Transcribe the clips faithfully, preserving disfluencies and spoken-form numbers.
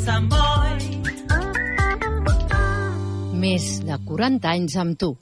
Samboy. Més de quaranta anys amb tu.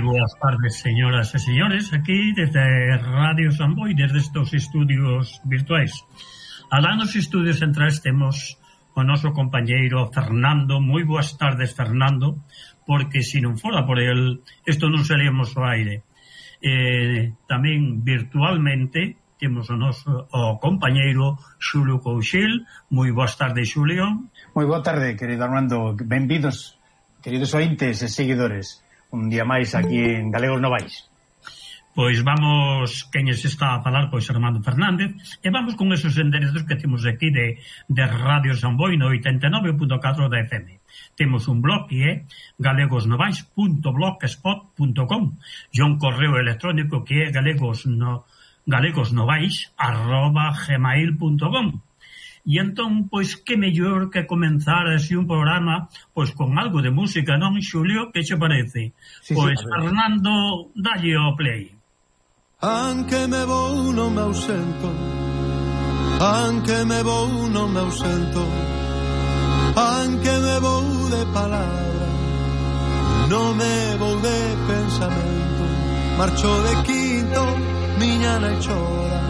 Buenas tardes, señoras e señores, aquí desde Radio Samboy, desde estos estudios virtuais. Alá nos estudios centrais temos o noso compañeiro Fernando. Moi boas tardes, Fernando, porque se non fora por el, isto non seríamos ao aire. Eh, tamén virtualmente temos o noso o compañeiro Xulio Couchil. Moi boas tardes, Xulio. Moi boa tarde, querido Armando. Benvidos, queridos ointes e seguidores, un día máis aquí en Galegos Novais. Pois vamos, quen se está a falar, pois Armando Fernández, e vamos con esos enderezos que temos aquí de, de Radio Samboy no oitenta e nove punto catro da F M. Temos un blog que é galegosnovais punto blogspot punto com e un correo electrónico que é galegos no, galegosnovais arroba gmail punto com. E entón, pois, que mellor que comenzar así un programa, pois, con algo de música, non, Xulio? Que che parece? Sí, pois, sí, Fernando, dalle o play. Anque me vou, non me ausento, anque me vou, non me ausento, anque me vou de palabra, non me vou de pensamento. Marcho de quinto, miña nai chora,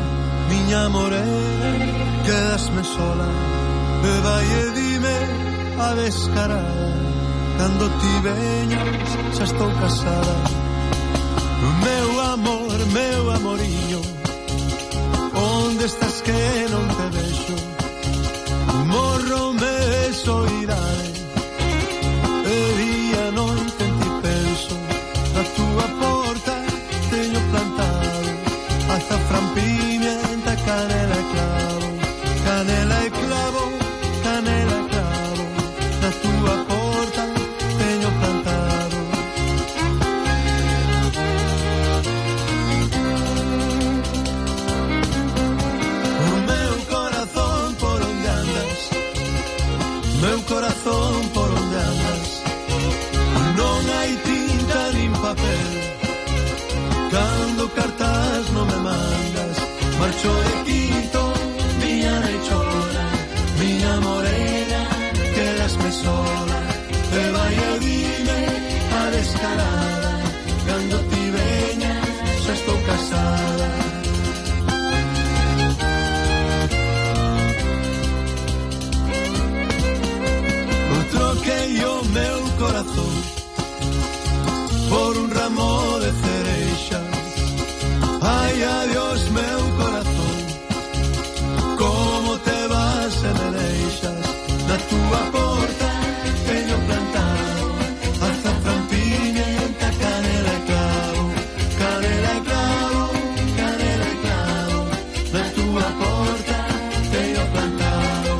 miña morena, quedasme sola, e vai e dime a descarada, cando ti veñas xa estou casada. Meu amor, meu amoriño, onde estás que non te vexo? Morro me de soidade, e día noite en ti penso. Na túa porta teño plantado azafrán, pimienta, canela e clavo, canela e clavo, canela e clavo. Na túa porta teño plantado. O meu corazón por onde andas, meu corazón por onde andas, non hai tinta nin papel, cando cartas non me mandas. Marcho de quinto, miña nai chora, miña morena, quedasme sola, e vai e dime a descarada, cando ti veñas xa estou casada. O troquei o meu corazón por un ramo de cereixas. Ai, adiós, meu corazón, como te vas e me deixas. Na túa porta teño plantado azafrán, pimienta, canela e clavo, canela e clavo, canela e clavo. Na túa porta teño plantado.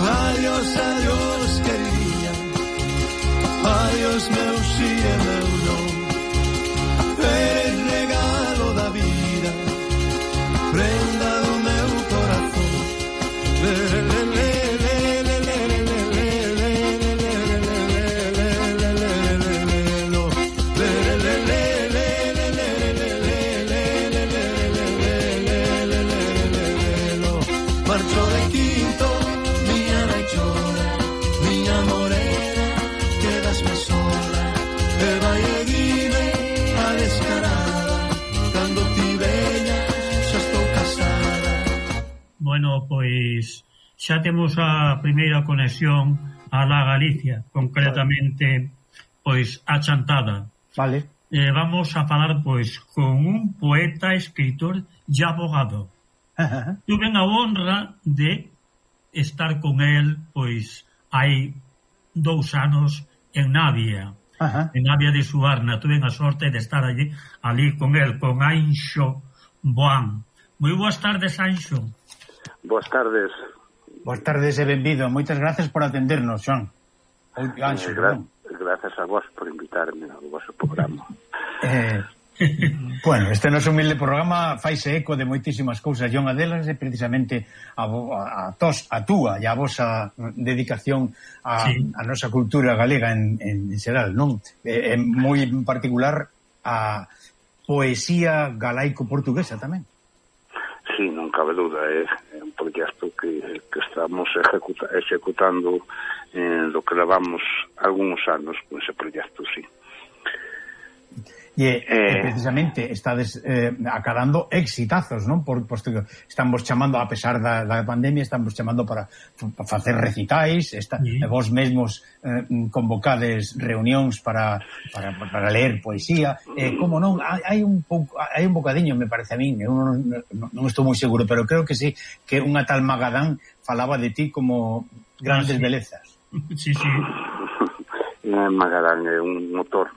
Adiós, adiós, queridinha, adiós, meu si e meu non. Eres regalo da vida, prenda do meu corazón. Le, le, le, le, le, le, le, le, le, le, le, le, lo. Le, le, le, le, le, le, le, le, le, le, lo. Marcho de quinto, miña nai chora, miña morena, quedasme sola, e vai e dime a descarada, cando ti veñas xa estou casada. Bueno, pois xa temos a primeira conexión a la Galicia, concretamente pois a Chantada. Vale. Eh, vamos a falar pois con un poeta, escritor e abogado. Tuve a honra de estar con el, pois, hai dous anos en Navia. Ajá. En Navia de Suarna. Tuve a sorte de estar allí, ali con el, con Anxo Boán. Moi boas tardes, Anxo. Boas tardes. Boas tardes e benvido. Moitas gracias por atendernos, Joan. Anxo, eh, gra gracias a vos por invitarme ao vosso programa. Eh, bueno, este noso humilde programa faise eco de moitísimas cousas, e unha delas é precisamente a, a, a, tos, a túa e a vosa dedicación a, sí. a nosa cultura galega en, en, en xeral, non? É, é moi en particular a poesía galaico-portuguesa tamén. Sí, non cabe duda, é un proxecto que, que estamos executa, executando eh, do que levamos algúns anos con ese proxecto, sí. E, eh, precisamente estades eh, acadando exitazos, non? Por, posto que estamos chamando, a pesar da, da pandemia, estamos chamando para, para facer recitais, esta, sí. e vos mesmos eh, convocades reunións para, para, para ler poesía, eh, como non, hai un pouco, hai un bocadiño, me parece a min, eu non, non, non estou moi seguro, pero creo que sí, que unha tal Magadán falaba de ti como grandes ah, sí. belezas. Sí, sí. Magadán é un motor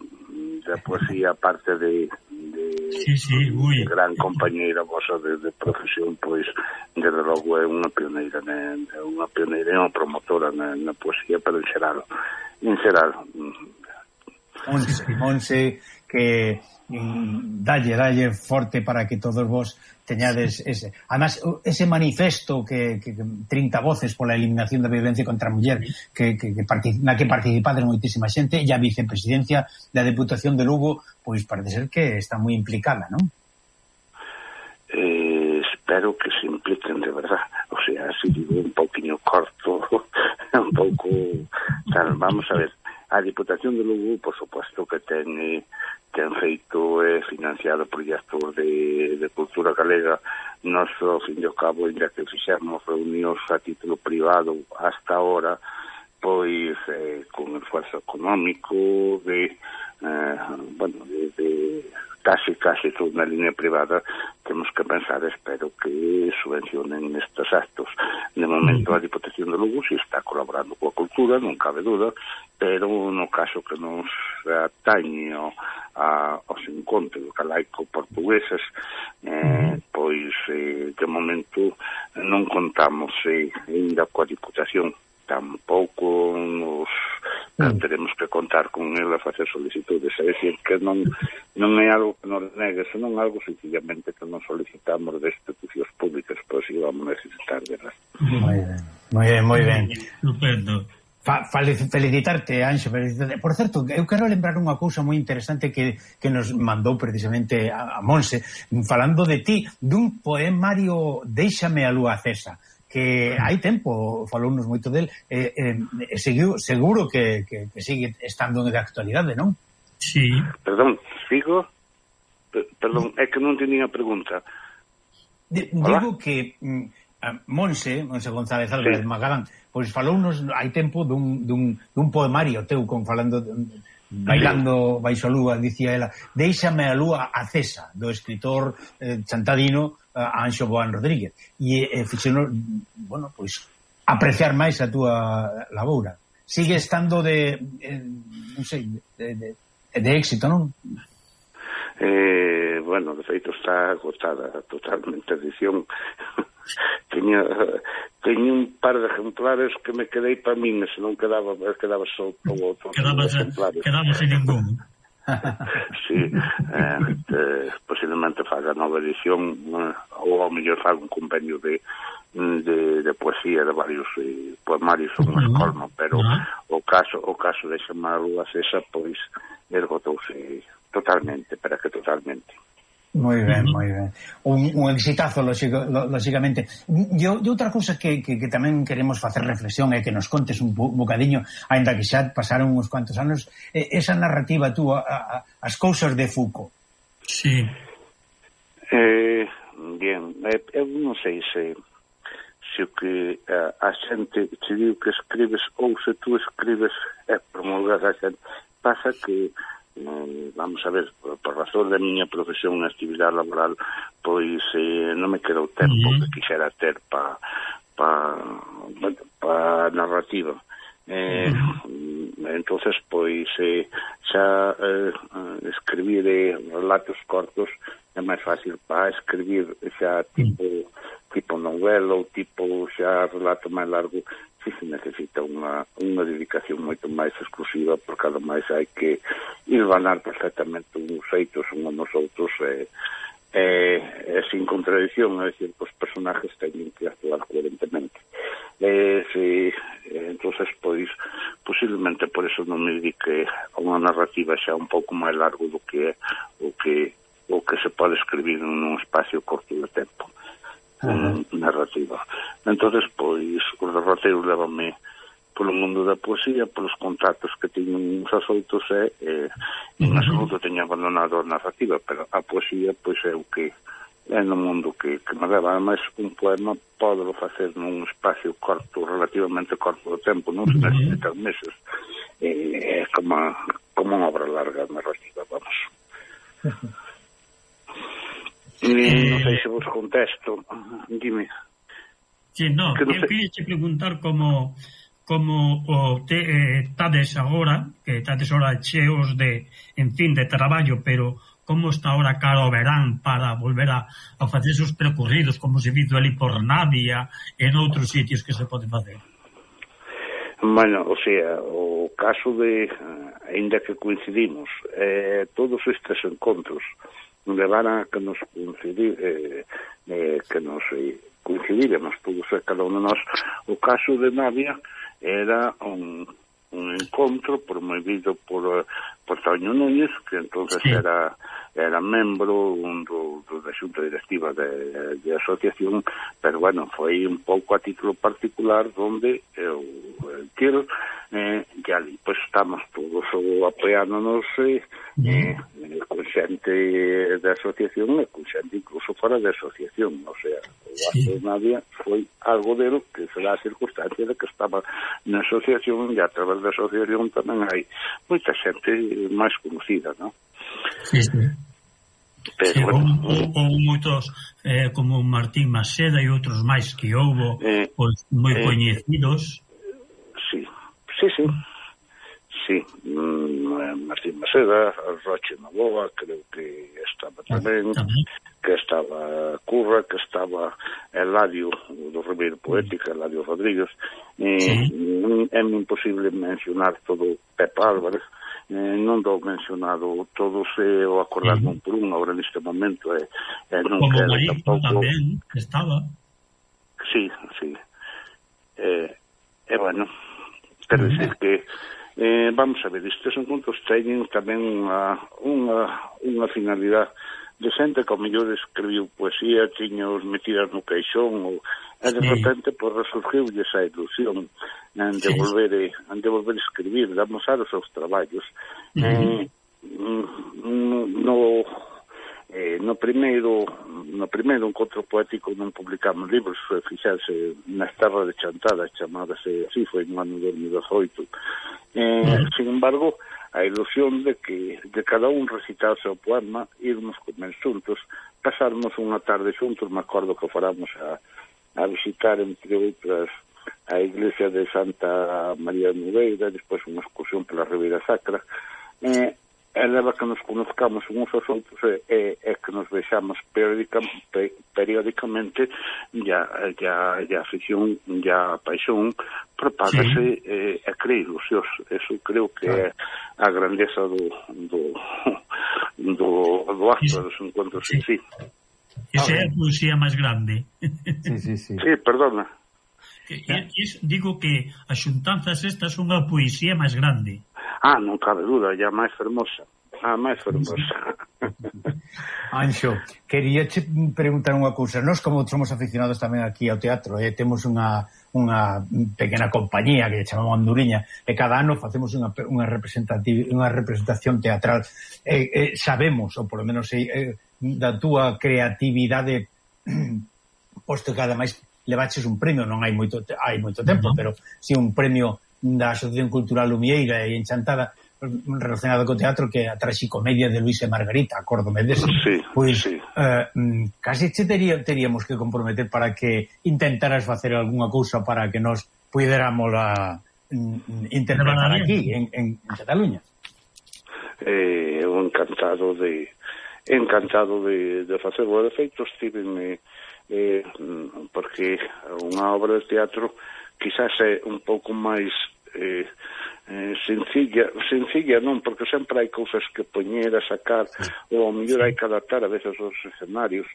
da poesía, aparte de, de, sí, sí, de gran compañeira vosa de, de profesión, pois desde logo é unha pioneira, né? É unha pioneira e unha promotora na, na poesía, pero en xeral, en xeral. Monse, Monse, que mm, dalle, dalle forte para que todos vos teñades ese, además, ese manifesto que, que, que trinta voces pola eliminación da violencia contra a muller, que, que, que na que participades moitísima xente, e a vicepresidencia da Deputación de Lugo, pois parece ser que está moi implicada, non? Eh, espero que se impliquen de verdad, o sea, así digo un pouquinho corto, un pouco tal, vamos a ver, a Deputación de Lugo, por suposto que ten eh, ten feito e eh, financiado proxectos de, de cultura galega. Nós, ao fin e ao cabo, ainda que fixemos reunións a título privado hasta ahora, pois eh, con esforzo económico de, eh, bueno, de, de casi, casi toda na línea privada, temos que pensar, espero que subvencionen estes actos. De momento, a Diputación de Lugo si está colaborando coa cultura, non cabe duda, pero no caso que nos atañe a, aos encontros galaico-portugueses, eh, pois, eh, de momento, non contamos eh, ainda coa Diputación. Tampouco nos mm. teremos que contar con el a facer solicitudes, é dicir, que non non é algo que nos negue, senón algo sencillamente que non solicitamos de institucións públicas, pois si vamos necesitar de las. Moi ben, moi ben, moi ben. Estupendo. Fa, felicitarte, Anxo, felicitarte. Por certo, eu quero lembrar unha cousa moi interesante que, que nos mandou precisamente a, a Monse, falando de ti, dun poemario Déixame a lúa acesa, que hai tempo falounos moito del, eh, eh, seguiu, seguro que, que, que sigue estando de actualidade, non? Sí. Perdón, sigo? Perdón, é que non tenía pregunta. D digo que mm, Monse, Monse González Álvarez, sí. Magalán, pois falounos hai tempo dun, dun, dun poemario teu, con falando bailando baixo a lúa, dicía ela, Déixame a lúa acesa, do escritor eh, chantadino Anxo Boán Rodríguez, e eh, fixenos, bueno, pois apreciar máis a túa laboura. Sigue estando de, eh, non sei, de, de, de éxito, non? Eh, bueno, de feito está agotada totalmente a edición. Teña, teña un par de ejemplares que me quedei para min, se non quedaba, quedaba só o outro. Quedamos sin ningún. Sí, eh, eh, posiblemente faga nova edición, eh, ou ao mellor faga un convenio de, de, de poesía de varios eh, poemarios ou unha escolma, pero uh-huh. o caso o caso de chamar a lúa acesa, pois ergotouse totalmente, para que totalmente. Moi ben, moi ben. Un, un exitazo, lógicamente. E outra cousa que, que, que tamén queremos facer reflexión é que nos contes un bocadiño, ainda que xa pasaron uns cuantos anos, esa narrativa túa, a, a, as cousas de Foucault. Sí. Eh, bien, eu non sei se se o que a, a xente te digo que escribes ou se tú escribes é promulgar a xente. Pasa que Eh, vamos a ver, por, por razón da miña profesión na actividade laboral, pois eh, non me quedou tempo uh-huh. que quixera ter para pa bueno, para narrativa. Eh, entonces pois eh, xa eh, escribir eh, relatos cortos é máis fácil. Para escribir xa tipo tipo novela ou tipo xa relato máis largo, si se necesita unha, unha dedicación moito máis exclusiva, porque ademais hai que hilvanar perfectamente uns feitos uns nos outros e eh, eh, sin contradicción, é dicir, os personajes teñen que actuar coherentemente. Eh, si, eh, entonces pois posiblemente por eso non me dedique a unha narrativa xa un pouco máis largo do que o que o que se pode escribir nun espacio corto de tempo. Uh-huh. Narrativa. Entonces pois os derroteiros levanme polo mundo da poesía, polos contactos que teño uns aos outros e eh, en absoluto teño abandonado a narrativa, pero a poesía pois é o que é no mundo que, que me leva. Ademais, un poema pódelo facer nun espacio corto, relativamente corto de tempo, non se necesitan meses. É como, como unha obra larga narrativa, vamos. E, non sei se vos contesto, dime. Sí, no, eu queria te preguntar como como o te eh, tades agora, que tades agora cheos de, en fin, de traballo, pero como está ahora cara ao verán para volver a, a facer esos percorridos, como se visto ali por Navia e en outros sitios que se pode facer? Bueno, o sea, o caso de, ainda que coincidimos, eh, todos estes encontros levaran a que nos coincidir, eh, eh, que nos eh, coincidíramos todos e cada uno de nós. O caso de Navia era un, un encontro promovido por, por Toño Núñez, que entonces sí. era era membro un do, do da xunta directiva de, de asociación, pero bueno, foi un pouco a título particular donde eu quero eh, que ali pois estamos todos apoiándonos eh, eh, con xente da asociación e con xente incluso fora da asociación, o sea, o acto de Nadia foi algo delo que se dá a circunstancia de que estaba na asociación e a través da asociación tamén hai moita xente máis conocida, non? Sí, sí. Pero, sí, bueno, ou, ou moitos eh, como Martín Maseda e outros máis que houbo eh, pois, moi eh, coñecidos. Sí, sí, sí. Sí, mm, Martín Maseda, Roche Novoa, creo que estaba tamén, ah, tamén, que estaba Curra, que estaba Eladio do Ribeiro Poética, Eladio Rodríguez. Eh, sí. É imposible mencionar todo Pepe Álvarez. Eh, non dou mencionado todos eh, o acordarme uh -huh. por un agora neste momento eh, eh, non como quero Marín tampouco... tamén estaba sí, sí eh, e eh, bueno quero uh -huh. decir que eh, vamos a ver, estes encontros teñen tamén unha, unha, unha finalidade de xente que ao mellor escribiu poesía, tiña os metidas no caixón ou, e de sí. repente por resurgiu esa ilusión en de, sí. volver, en de volver a escribir, de amosar os seus traballos. Uh -huh. eh, no, eh, no primeiro no primeiro encontro poético non publicamos libros, fixarse nas terras de Chantada, chamábase así, foi no ano dos mil dezoito. Eh, uh -huh. Sin embargo, a ilusión de que de cada un recitar o seu poema, irmos comer xuntos, pasarmos unha tarde xuntos. Me acordo que faramos a, a visitar, entre outras, a iglesia de Santa María de Nogueira, despois unha excursión pola Ribeira Sacra, e, e leva que nos conozcamos uns aos outros e, e, e que nos vexamos periódica, pe, periódicamente, ya, ya, ya a afición, ya a paixón propágase sí. e, e crea ilusións. Eso creo que é a grandeza do do, do, do acto dos encontros sí. en sí. Esa é a poesía máis grande. Sí, sí, sí. Sí, perdona. Que, es, digo que as xuntanzas estas son a poesía máis grande. Ah, non cabe duda, ya máis fermosa. Ah, máis fermosa. Anxo, quería che preguntar unha cousa. Nós, como somos aficionados tamén aquí ao teatro, eh, temos unha unha pequena compañía que chamamos Anduriña, e cada ano facemos unha, unha, unha representación teatral. Eh, eh, sabemos, ou polo menos eh, da túa creatividade, posto que ademais levaches un premio, non hai moito hai moito tempo, uh -huh. pero si un premio da Asociación Cultural Lumieira e Enchantada relacionado co teatro, que é a traxicomedia de Luis e Margarita, acórdome dese. Sí, pois, sí. Eh, casi che tería, teríamos que comprometer para que intentaras facer algunha cousa para que nos puidéramos a interpretar aquí, en, en, en Cataluña. Eh, eu encantado de encantado de, de facer. O efeito estive eh, porque unha obra de teatro quizás é un pouco máis eh, eh, sencilla, sencilla non, porque sempre hai cousas que poñer a sacar, sí. ou ao mellor hai que adaptar a veces os escenarios,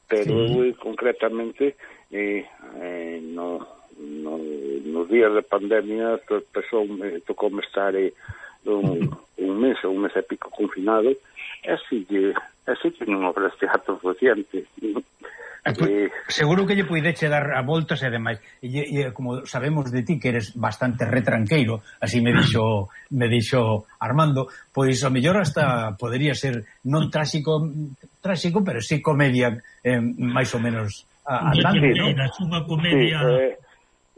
pero sí. eu concretamente eh, eh, no, no, nos días de pandemia tocoume tocou estar eh, un, un mes ou un mes e pico confinado, e así que así que non obras de teatro reciente. Eh, seguro que lle puideche dar a voltas e demais. E, e como sabemos de ti que eres bastante retranqueiro, así me dixo me dixo Armando, pois a mellor hasta podería ser non tráxico, tráxico, pero sí comedia eh, máis ou menos andante, non? Unha comedia... Sí,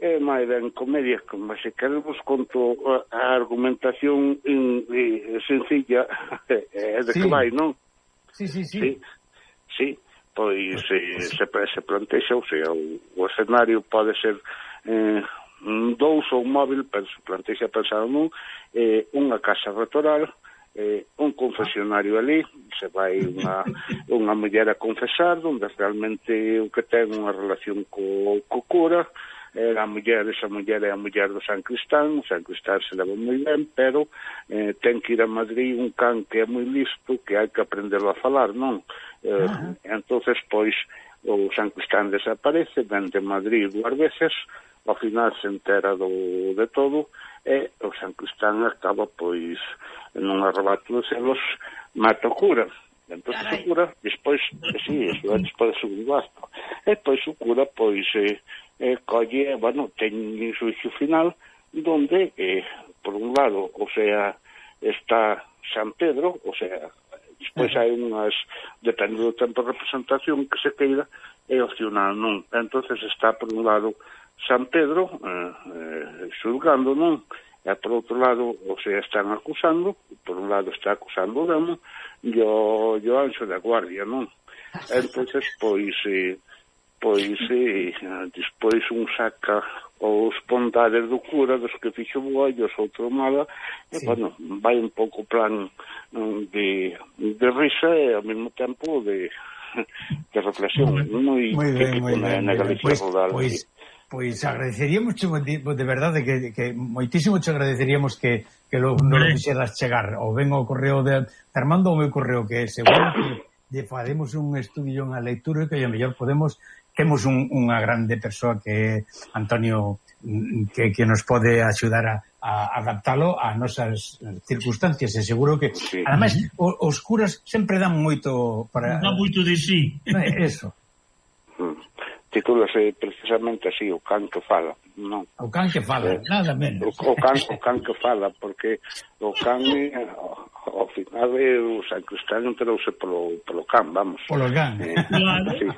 eh, é máis ben comedia, como se queremos conto a argumentación in, in, sencilla é de sí. que vai, non? Sí, sí, sí. Sí, sí. Pois eh, se, se plantexa, ou sea, o, o escenario pode ser eh, dous ou un móvil, pero se plantexa pensado nun, eh, unha casa retoral, eh, un confesionario ali, se vai unha, unha muller a confesar, onde realmente o que ten unha relación co, co cura, eh, a muller, esa muller é a muller do San Cristán, o San Cristán se leva moi ben, pero eh, ten que ir a Madrid un can que é moi listo, que hai que aprenderlo a falar, non? Eh, uh-huh. Entonces, pois, o San Cristán desaparece, ven de Madrid dúas veces, ao final se entera do, de todo, e o San Cristán acaba, pois, nun arrebato de celos, mata o cura. Entonces o cura, despois, sí, eso é despois do segundo acto, e pois o cura, pois, eh, eh, colle, bueno, ten un xuicio final, donde, eh, por un lado, o sea, está San Pedro, o sea, despois hai unhas, depende do tempo de representación que se queira, é opcional, non? Entonces está por un lado San Pedro eh, eh, xulgando, non? E por outro lado, o sea, están acusando, por un lado está acusando o demo e o, o anxo da guardia, non? Entonces, pois eh, pois eh, despois un saca os bondades do cura, dos que fixo boa e os outro mala, e, sí. bueno, vai un pouco plan de, de risa e ao mesmo tempo de, de reflexión, moi típico na, na Galicia rural. Pois, pois agradeceríamos de, de verdade que, que moitísimo te agradeceríamos que, que lo, non lo fixeras chegar, ou ben ao correo de Armando ou meu correo, que seguro que lle faremos un estudio en a lectura e que a mellor podemos temos un, unha grande persoa que é Antonio que, que nos pode axudar a, a adaptalo a nosas circunstancias e seguro que sí. Ademais os curas sempre dan moito para... Dan moito de sí. Eso. Titúlase precisamente así, o can que fala, non? O can que fala, eh, nada menos. O, o, can, o can que fala, porque o can ao final o San Cristán enterouse polo, polo can, vamos. Polo can. Eh, sí,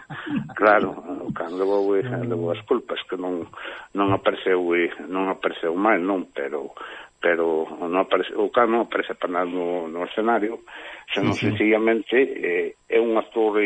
claro, o can levou, levou as culpas, que non non apareceu non apareceu mal, non, pero pero non aparece, o can non aparece para nada no, no escenario, senón sí, sí. sencillamente eh, é un actor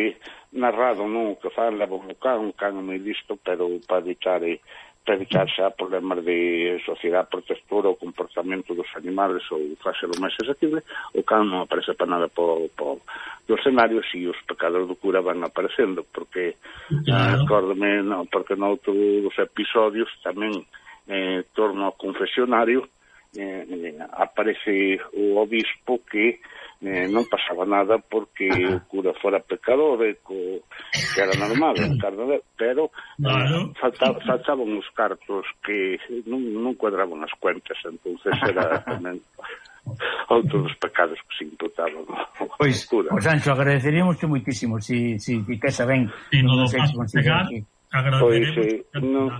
narrado, non, que fan leva un can, un can moi listo, pero para evitar eh, para evitar xa problemas de sociedade protectora ou comportamento dos animales ou facelo máis accesible, o can non aparece para nada po, po, do escenario, si os pecados do cura van aparecendo, porque claro. acórdome, no, porque noutro dos episodios tamén eh, torno ao confesionario, eh, eh, aparece o obispo que eh, non pasaba nada porque o cura fora pecador e co, que era normal, pero eh, falta, faltaban os cartos que non, non cuadraban as cuentas, entonces era tamén outros dos pecados que se imputaban ao pois, cura. Pois, Anxo, agradeceríamos que moitísimo si, si que xa ben si non se conseguir aquí. Pois eh, non,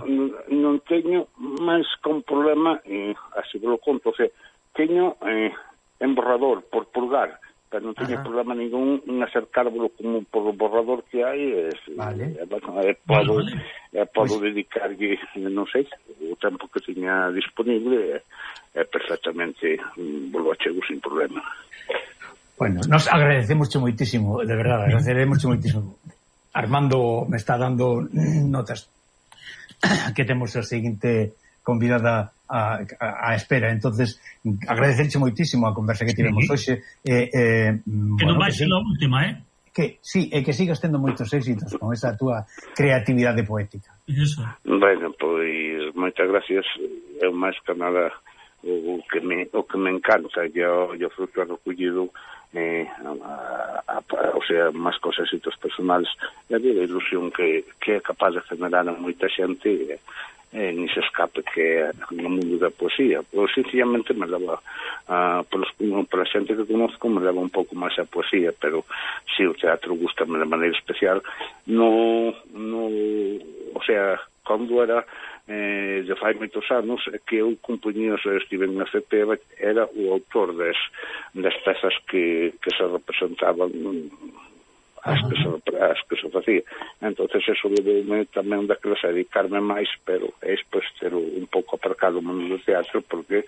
non teño máis con problema, eh, así vos lo conto, o sea, teño eh, en borrador por purgar, pero non teño Ajá. problema ningún en acercárvolo como por o borrador que hai, eh, vale. eh, bueno, eh, podo, vale. eh, podo pues... dedicarlle, non sei, o tempo que teña disponible, eh, é perfectamente um, volvo a chego sin problema. Bueno, nos agradecemos moitísimo, de verdade, agradecemos moitísimo. Armando me está dando notas que temos a seguinte convidada a, a, a espera, entonces agradecerche moitísimo a conversa que tivemos sí. hoxe eh, eh, que bueno, non vai ser a última, eh? Que, sí, e que sigas tendo moitos éxitos con esa túa creatividade poética. Eso. Bueno, pois moitas gracias, é máis que nada o que me, o que me encanta e o, o fruto recollido eh, a, a, a, o sea, máis cos éxitos personales e a ilusión que, que é capaz de generar a moita xente eh, eh, ni se escape que é no mundo da poesía, pois sencillamente me leva a, polos, pola xente que conozco me leva un pouco máis a poesía, pero si o teatro gustame de maneira especial no, no o sea, cando era eh, de fai moitos anos que eu compoñía, se estive na C P era o autor das, das pezas que, que se representaban as que se, as que se facía. Entonces eso levoume tamén daquelas a dedicarme máis, pero é despois ter un pouco aparcado o mundo do teatro porque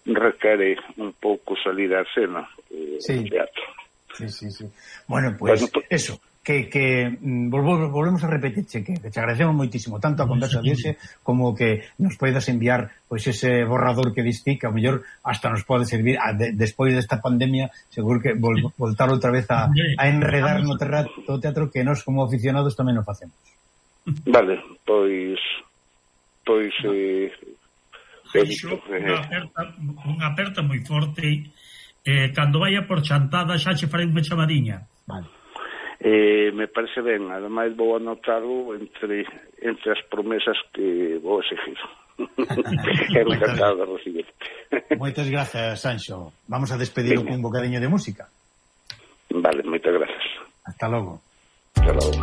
requere un pouco salir á escena o sí. teatro. Sí, sí, sí. Bueno, pues, bueno, pues eso, que, que volvemos, volvemos a repetirche que, que te agradecemos moitísimo tanto a conversa de hoxe como que nos poidas enviar pois pues, ese borrador que diste que ao mellor hasta nos pode servir a, de, despois desta pandemia seguro que vol, voltar outra vez a, a enredar no teatro, teatro que nós como aficionados tamén nos facemos. Vale, pois pois eh, Xo, unha aperta, unha aperta moi forte eh, cando vaya por chantada xa che farei unha chamadiña. Vale. Eh, me parece ben, ademais vou anotarlo entre, entre as promesas que vou exigir. Quero encantado de recibir. Moitas grazas, Sanxo. Vamos a despedir con un bocadiño de música. Vale, moitas grazas. Hasta logo. Hasta logo.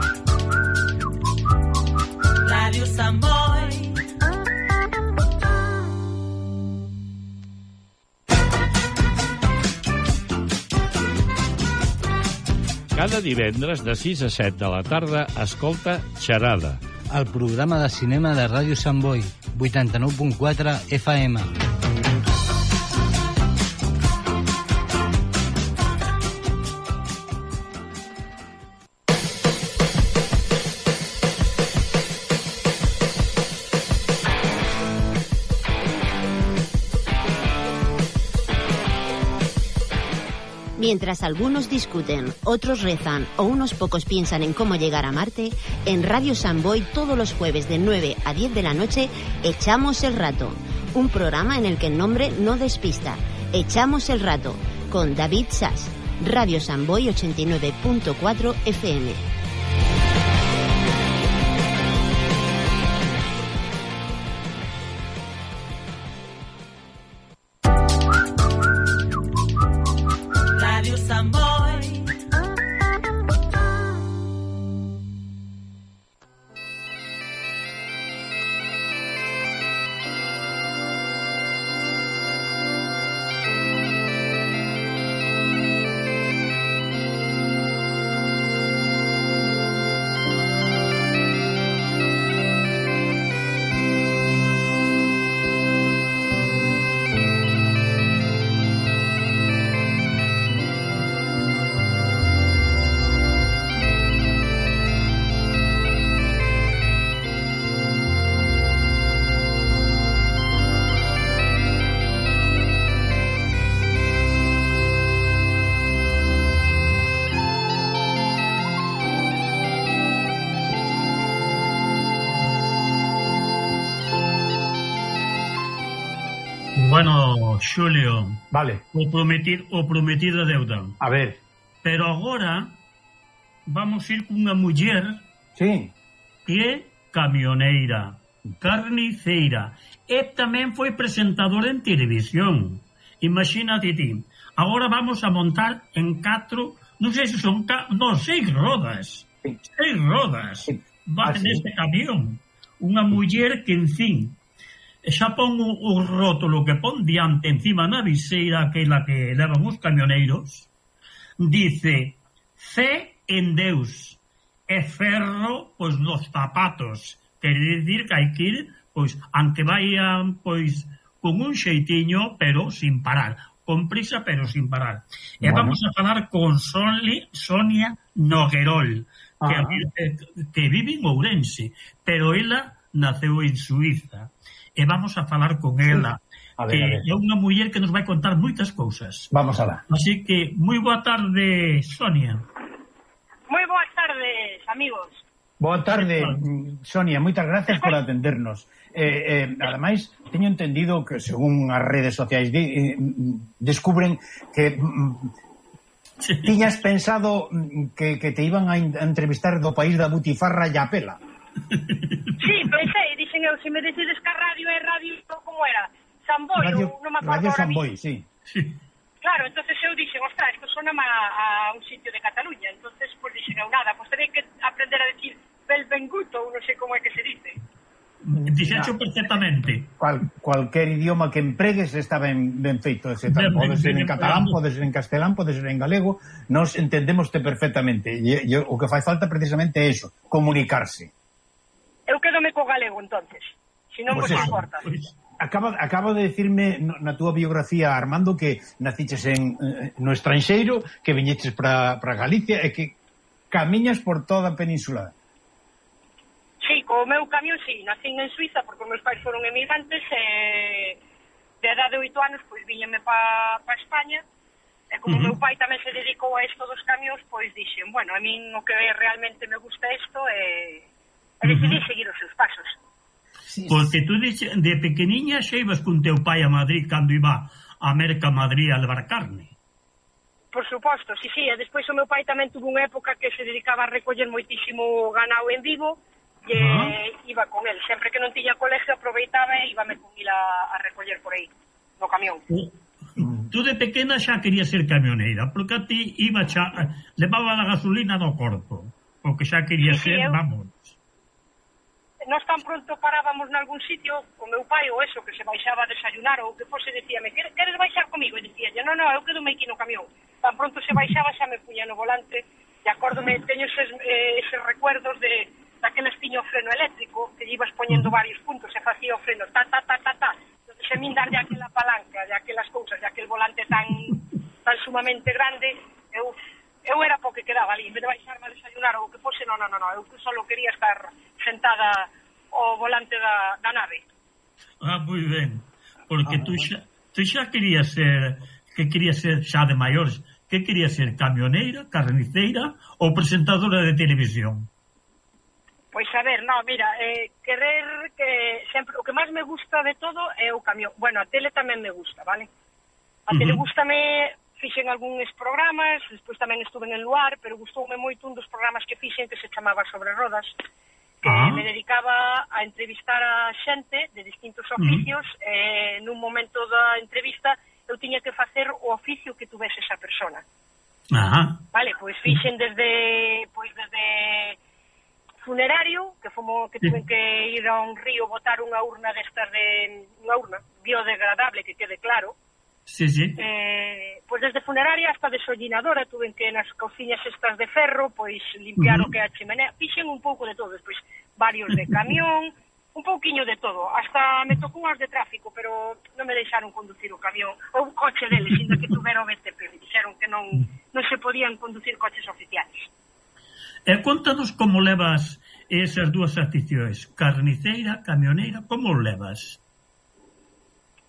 Radio Samboy. Cada divendres de sis a set de la tarda escolta Xerada. El programa de cinema de Ràdio Sant Boi, vuitanta-nou punt quatre F M. Mientras algunos discuten, otros rezan o unos pocos piensan en cómo llegar a Marte, en Radio Sant Boi todos los jueves de nueve a diez de la noche Echamos el Rato, un programa en el que el nombre no despista. Echamos el Rato, con David Sass, Radio Sant Boi ochenta y nueve punto cuatro F M. Bueno, Xulio, vale. o prometido, o prometido deuda. A ver. Pero agora vamos ir cunha muller sí. que é camioneira, carniceira e tamén foi presentadora en televisión. Imagínate ti. Agora vamos a montar en catro, non sei se son ca, non, seis rodas. Sí. Seis rodas. Sí. Va ah, neste sí. camión. Unha muller que, en fin, xa pon o, o rótulo que pon diante encima na viseira, aquela que levan os camioneiros, dice fe en Deus e ferro pois nos zapatos, quer dicir que hai que ir pois, aunque vayan pois con un xeitiño, pero sin parar, con prisa, pero sin parar. E Bueno. vamos a falar con Soli, Sonia Noguerol, que, Ah. que vive en Ourense, pero ela naceu en Suiza. E vamos a falar con ela, A ver, que a ver. é unha muller que nos vai contar moitas cousas. Vamos alá. Así que, moi boa tarde, Sonia. Moi boas tardes, amigos. Boa tarde, mm, Sonia, moitas gracias por atendernos. Eh, eh, ademais, teño entendido que según as redes sociais de, eh, descubren que mm, Sí. tiñas pensado mm, que, que te iban a, in- a entrevistar do país da butifarra e a pela. Sí, pensei, dixen eu, se me decides que a radio é radio, como era? Samboy, Radio, ou non me acordo Radio ahora Samboy, mismo. sí. Sí. Claro, entonces eu dixen, ostras, isto sona a, a un sitio de Cataluña, entonces pues dixen eu nada, pues terei que aprender a decir Belvenguto, ou non sei como é que se dice. Dixecho perfectamente. Cual, cualquier idioma que empregues está ben, ben feito, etcétera. Ben, Pode ben, ser ben en catalán, empregado. pode ser en castelán, pode ser en galego, nos entendémoste perfectamente. E, e o que fai falta precisamente é eso, comunicarse. Eu quedome co galego, entonces, se non Pues vos eso, importa. Pois, Acaba, acaba de decirme no- na túa biografía, Armando, que naciches en, eh, no estranxeiro, que viñeches para Galicia e que camiñas por toda a península. Sí, co meu camión, sí, nacín en Suiza, porque os meus pais foron emigrantes, e de edade de oito anos, pois viñeme pa, pa España, e como o Ujú. meu pai tamén se dedicou a isto dos camións, pois dixen, bueno, a min o que realmente me gusta isto é, e decidí Ujú. seguir os seus pasos. Sí, Porque tú dixe, de pequeniña xa ibas con teu pai a Madrid cando iba a Merca Madrid a levar carne. Por suposto, sí, sí, e despois o meu pai tamén tuvo unha época que se dedicaba a recoller moitísimo ganao en Vigo, e Ah. iba con el, sempre que non tiña colegio aproveitaba e íbame con il a, a recoller por aí, no camión. Tú de pequena xa querías ser camioneira, porque a ti iba xa, levaba a gasolina no corpo, porque xa querías Sí, sí, ser, eu- vamos. Nós tan pronto parábamos nalgún sitio, o meu pai ou eso, que se baixaba a desayunar ou que fose, decíame, queres, queres baixar comigo? E dicía, non, non, eu quedo aquí no camión. Tan pronto se baixaba xa me puña no volante, e acórdome, teño eses, eh, eses recuerdos de daqueles tiño o freno eléctrico, que lle ibas poñendo varios puntos, e facía o freno, ta, ta, ta, ta, ta. Entonces, se min darlle aquela palanca, de aquelas cousas, de aquel volante tan tan sumamente grande, eu eu era po que quedaba ali, en vez de baixarme a desayunar ou que fose, non, non, non, eu só quería estar sentada ao volante da, da nave. Ah, moi ben. Porque Ah, tú bueno. xa, tú xa querías ser, que querías ser xa de maiores, que querías ser camioneira, carniceira ou presentadora de televisión? Pois a ver, no, mira, eh, querer que sempre, o que máis me gusta de todo é o camión. Bueno, a tele tamén me gusta, vale? A tele Ujú. gústame, fixen algúns programas, despois tamén estuve en el luar, pero gustoume moito un dos programas que fixen que se chamaba Sobre Rodas, que Ah. me dedicaba a entrevistar a xente de distintos oficios, mm. e nun momento da entrevista eu tiña que facer o oficio que tuvese esa persona. Ajá. Vale, pois fixen desde pois desde funerario, que fomo que tuven que ir a un río botar unha urna destas de unha urna biodegradable, que quede claro. Sí, sí. Eh, pois desde funeraria hasta desollinadora, tuven que nas cociñas estas de ferro, pois limpiar Uh-huh. o que é a chimenea, fixen un pouco de todo, despois varios de camión, un pouquiño de todo, hasta me tocou unhas de tráfico, pero non me deixaron conducir o camión, ou o coche deles, ainda que tuvera o B T P, me dixeron que non, non se podían conducir coches oficiales. E contanos como levas esas dúas aficións, carniceira, camioneira, como o levas?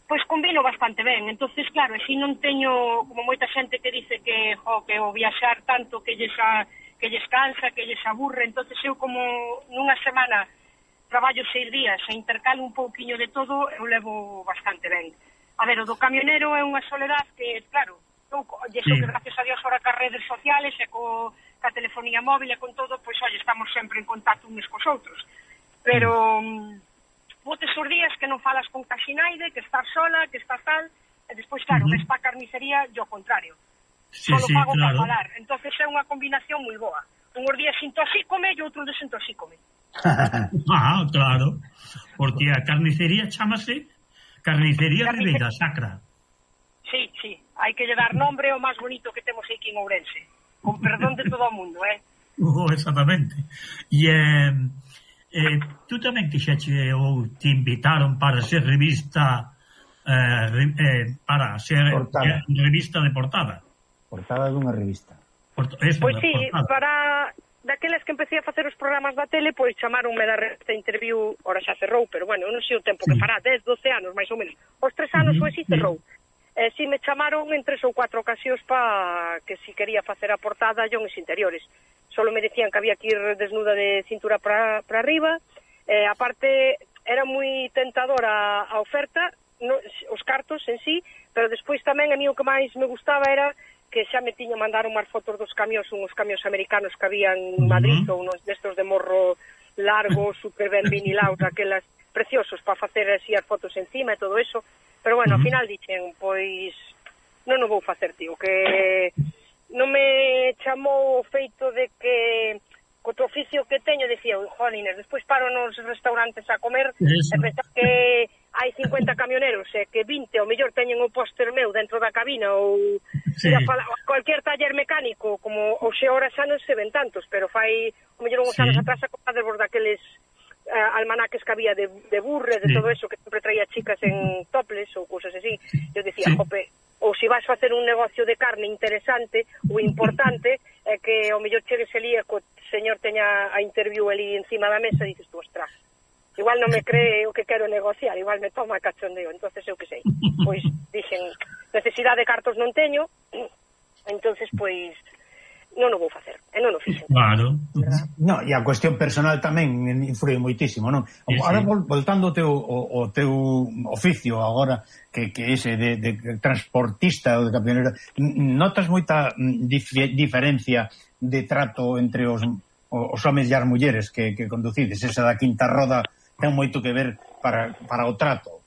Pois combino bastante ben, entonces claro, así non teño como moita xente que dice que jo, que o viaxar tanto que lles, a, que lles cansa, que lles aburre, entonces eu como nunha semana traballo seis días e intercalo un pouquiño de todo, eu levo bastante ben. A ver, o do camionero é unha soledad que, claro, eu, e Sí. que gracias a Dios ahora cas redes sociales e co, ca telefonía móvil e con todo, pois, oye, estamos sempre en contacto uns cos outros. Pero... Mm. Botes os días que non falas con casi naide, que estás sola, que estás tal, e despois, claro, Uh-huh. ves pa carnicería e o contrario. Sí, Solo sí, pago claro. para falar. Entonces é unha combinación moi boa. Unhos días intoxícome e outros desintoxícome. Ah, claro. Porque a carnicería chamase Carnicería Carnice- Ribeira Sacra. Sí, sí, hai que lle dar nombre ao máis bonito que temos aquí en Ourense. Con perdón de todo o mundo, eh? Oh, exactamente. E eh, eh, tú tamén quixeche ou te invitaron para ser revista eh, eh, para ser Portada. revista de portada. Portada dunha revista. Por, eso, Pois de sí, portada. para daqueles que empecé a facer os programas da tele, pois chamaronme da revista Interview, ora xa cerrou, pero bueno, eu non sei o tempo que fará, dez, doce anos, máis ou menos. Os tres anos Uh-huh. foi si cerrou. E si me chamaron en tres ou cuatro ocasións pa que si quería facer a portada e os interiores. Solo me decían que había que ir desnuda de cintura para para arriba, e aparte era moi tentadora a oferta, no, os cartos en sí, pero despois tamén a mí o que máis me gustaba era que xa me tiña mandar unhas fotos dos camións, uns camións americanos que habían en Madrid, uh-huh. ou uns destos de morro largo, super ben vinilados, aquelas preciosos para facer así as fotos encima e todo eso. Pero bueno, uh-huh. ao final dixen, pois non o vou facer, tío, que non me chamou o feito de que co outro oficio que teño, decía, jolines, despois paro nos restaurantes a comer eso. E pensar que hai cincuenta camioneros e que vinte ao mellor teñen o póster meu dentro da cabina ou sí. fala, cualquier taller mecánico, como o xe ora xa non se ven tantos, pero fai ao mellor uns sí. anos atrás a de daqueles Uh, almanaques que había de, de burre, de sí. todo eso, que sempre traía chicas en topless ou cousas así. Eu dicía, sí. jope, ou se vas a facer un negocio de carne interesante ou importante, é eh, que ao mellor chegues ali e co señor teña a interview ali encima da mesa e dices tú, ostras, igual non me cree o que quero negociar, igual me toma cachondeo. Entonces eu que sei, pois dixen, necesidade de cartos non teño, entonces pois non o vou facer, e non o fixen. Claro. No, e a cuestión personal tamén influe moitísimo, non? Sí, agora, sí. voltando ao teu, o, o teu oficio, agora, que, que ese de, de transportista ou de camionero, notas moita dif diferencia de trato entre os, os homens e as mulleres que, que conducides? Esa da quinta roda ten moito que ver para, para o trato.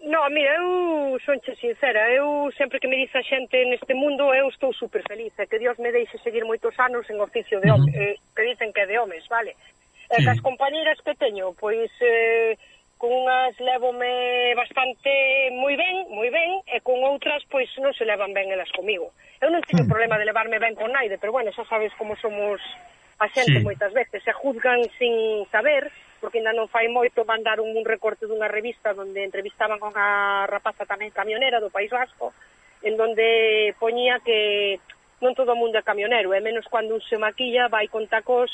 No, mira, eu sonche sincera, eu sempre que me dice a xente neste mundo, eu estou super feliz, e que Dios me deixe seguir moitos anos en oficio de home, uh-huh. eh, que dicen que é de homes, vale? E sí. Cas compañeras que teño, pois eh, con unhas levome bastante moi ben, moi ben, e con outras, pois non se levan ben elas comigo. Eu non teño uh-huh. problema de levarme ben con naide, pero bueno, xa sabes como somos a xente sí. moitas veces, se juzgan sin saber, porque ainda non fai moito mandaron un recorte dunha revista onde entrevistaban con a rapaza tamén camionera do País Vasco, en donde poñía que non todo o mundo é camionero, e menos cando un se maquilla vai con tacos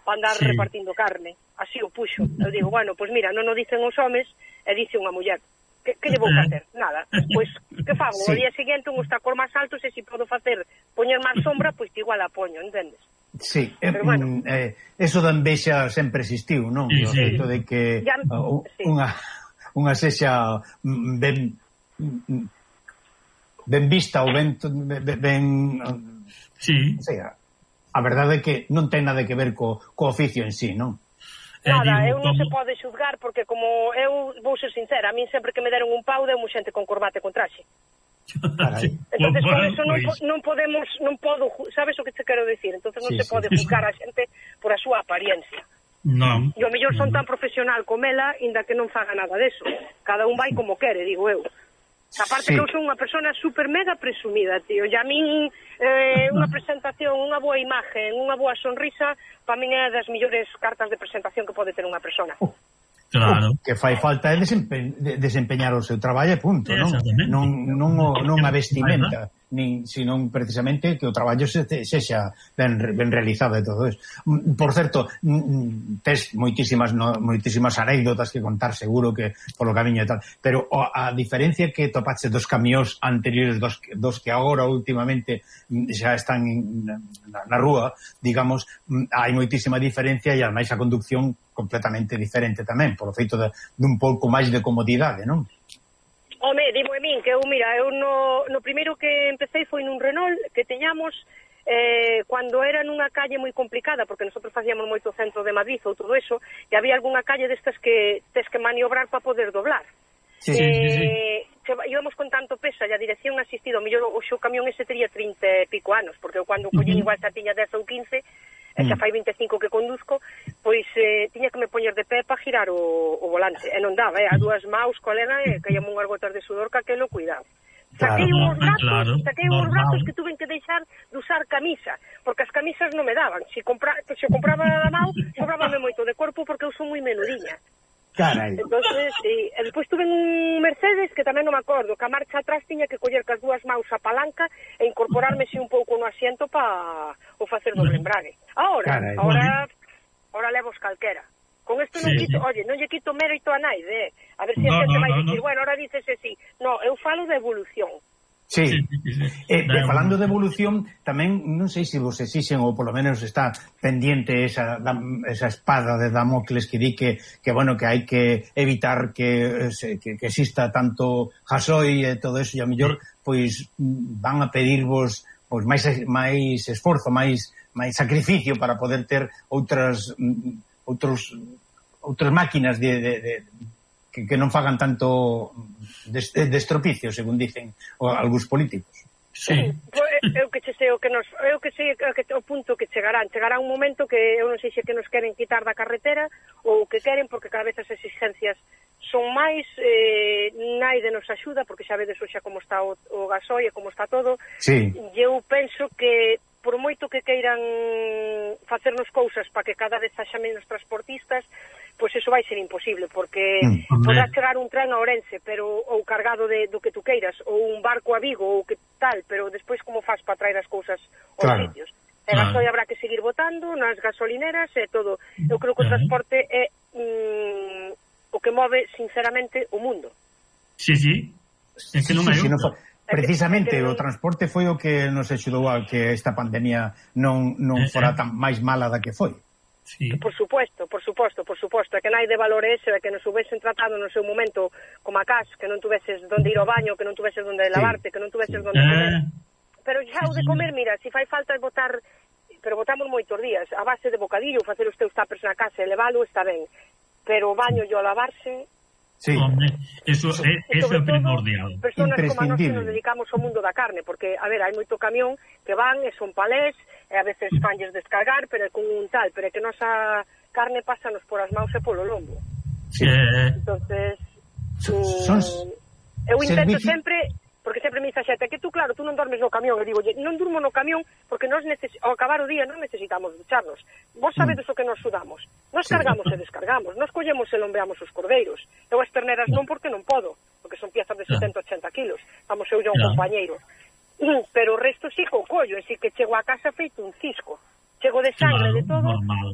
para andar sí. repartindo carne. Así o puxo. Eu digo, bueno, pois mira, non o dicen os homes, e dice unha muller. Que, que lle vou facer? Nada. Pois, que fago? Sí. O día seguinte un tacos máis altos, e se podo facer poñer máis sombra, pois igual a poño, entendes? Sí, eh, bueno. eh, eso da envexa sempre existiu, non? Sí, o feito sí. de que ya, uh, sí. unha, unha sexa ben ben vista ou ben, ben sí. o sea, a verdade é que non ten nada que ver co, co oficio en sí, non? Nada, eu non se pode xuzgar porque como eu vou ser sincera, a min sempre que me deron un pau deu xente con corbata e con traxe. Carai. Entonces por eso non, non podemos, non podo, sabes o que te quero decir? Entonces non sí, se sí. pode juzgar a xente por a súa apariencia. Non. E o mellor son tan profesional como ela, inda que non faga nada deso. Cada un vai como quere, digo eu. Aparte sí. que eu son unha persona super mega presumida, tío. E a min eh, unha presentación, unha boa imagen, unha boa sonrisa, para min é das mellores cartas de presentación que pode ter unha persona. Uh. Claro. O que fai falta é desempe desempeñar o seu traballo e punto, non? Non, non, o, non a vestimenta, nin, sino precisamente que o traballo se, sexa ben, ben realizado e todo eso. Por certo, tes moitísimas, no, moitísimas anécdotas que contar seguro que polo camiño e tal, pero a diferencia que topache dos camións anteriores dos, dos que agora últimamente xa están na, na rúa, digamos, hai moitísima diferencia e ademais a conducción completamente diferente tamén, polo feito de, de un pouco máis de comodidade, non? Home, dimo a min que eu, mira, eu no, no primeiro que empecé foi nun Renault que teñamos eh, cando era nunha calle moi complicada, porque nosotros facíamos moito centro de Madrid ou todo eso, e había algunha calle destas que tes que maniobrar para poder doblar. Sí, eh, sí, sí. Íbamos con tanto peso e a dirección asistida, o mellor o xo camión ese tería trinta e pico anos, porque eu cando collín uh -huh. igual xa tiña dez ou quince, e xa fai vinte e cinco que conduzco, pois eh, tiña que me poñer de pé para girar o, o volante, e non daba, eh, a dúas maus, colega, e caíamos unhas gotas de sudor que aquelo cuidado. Saquei claro, uns brazos, claro, saquei uns brazos que tuven que deixar de usar camisa, porque as camisas non me daban. Se, compra, se compraba a mão, sobrábame moito de corpo porque eu son moi menudiña. Carai. Entonces, sí. E despois tuve un Mercedes que tamén non me acordo, que a marcha atrás tiña que coller cas dúas maus a palanca e incorporarme un pouco no asiento para o facer doble embrague. Ahora, Carai, ahora, ahora levos calquera. Con isto non sí, quito, sí. Oye, non lle quito mérito a naide, eh? A ver se si no, a xente no, vai no, dicir, no. Bueno, ahora dícese sí. No, eu falo de evolución. Sí, sí, sí, sí. Eh, eh, falando de evolución, tamén non sei se vos exixen ou polo menos está pendiente esa, esa espada de Damocles que di que, que bueno, que hai que evitar que, que, que exista tanto gasoi e todo eso, e a mellor pois van a pedirvos pois máis máis esforzo, máis máis sacrificio para poder ter outras outros outras máquinas de, de, de Que, que non fagan tanto destropicio, según dicen o, algúns políticos. Sí. Eu que che sei o que nos, eu que sei o, que, o punto que chegarán, chegará un momento que eu non sei se que nos queren quitar da carretera ou que queren porque cada vez as exigencias son máis, eh, naide nos axuda porque xa vedes xa como está o, o gasoi e como está todo. Sí. E eu penso que por moito que queiran facernos cousas para que cada vez haxa menos transportistas, pois eso vai ser imposible, porque mm, podrá chegar un tren a Ourense, pero ou cargado de do que tu queiras, ou un barco a Vigo, ou que tal, pero despois como faz para traer as cousas aos claro. sitios? E claro. gasoi habrá que seguir botando nas gasolineras e todo. Eu creo que o transporte é mm, o que move, sinceramente, o mundo. Sí, sí. É que non é sí, sí, no fa... Precisamente, o transporte foi o que nos axudou a que esta pandemia non, non fora tan máis mala da que foi. Sí. Por suposto, por suposto, por suposto, é que nai de valor ese, é que nos hubesen tratado no seu momento como a cas, que non tuveses donde ir ao baño, que non tuveses donde lavarte, sí. que non tuveses donde comer. Pero xa o de comer, mira, se fai falta botar, pero botamos moitos días, a base de bocadillo, facer os teus tapers na casa e levalo está ben, pero o baño e o lavarse... Sí. Hombre, eso, so, é, eso é primordial. Personas como a nós que nos dedicamos ao mundo da carne, porque, a ver, hai moito camión que van e son palés, e a veces fanlles descargar, pero é con un tal, pero é que nosa carne pásanos por as maus e polo lombo. Sí. Entonces, son, mm, eu intento servicio... sempre, porque sempre me dice a xente, que tú, claro, tú non dormes no camión, e digo, non durmo no camión porque nós neces... ao acabar o día non necesitamos ducharnos. Vos sabedes mm. o que nos sudamos. Nos sí. cargamos e descargamos, nos collemos e lombeamos os cordeiros. Eu as terneras non porque non podo, porque son piezas de setenta a ochenta kilos. Vamos, eu e un claro. compañeiro. Pero o resto sí co collo, é dicir, que chego a casa feito un cisco. Chego de sangre, claro, de todo. Normal.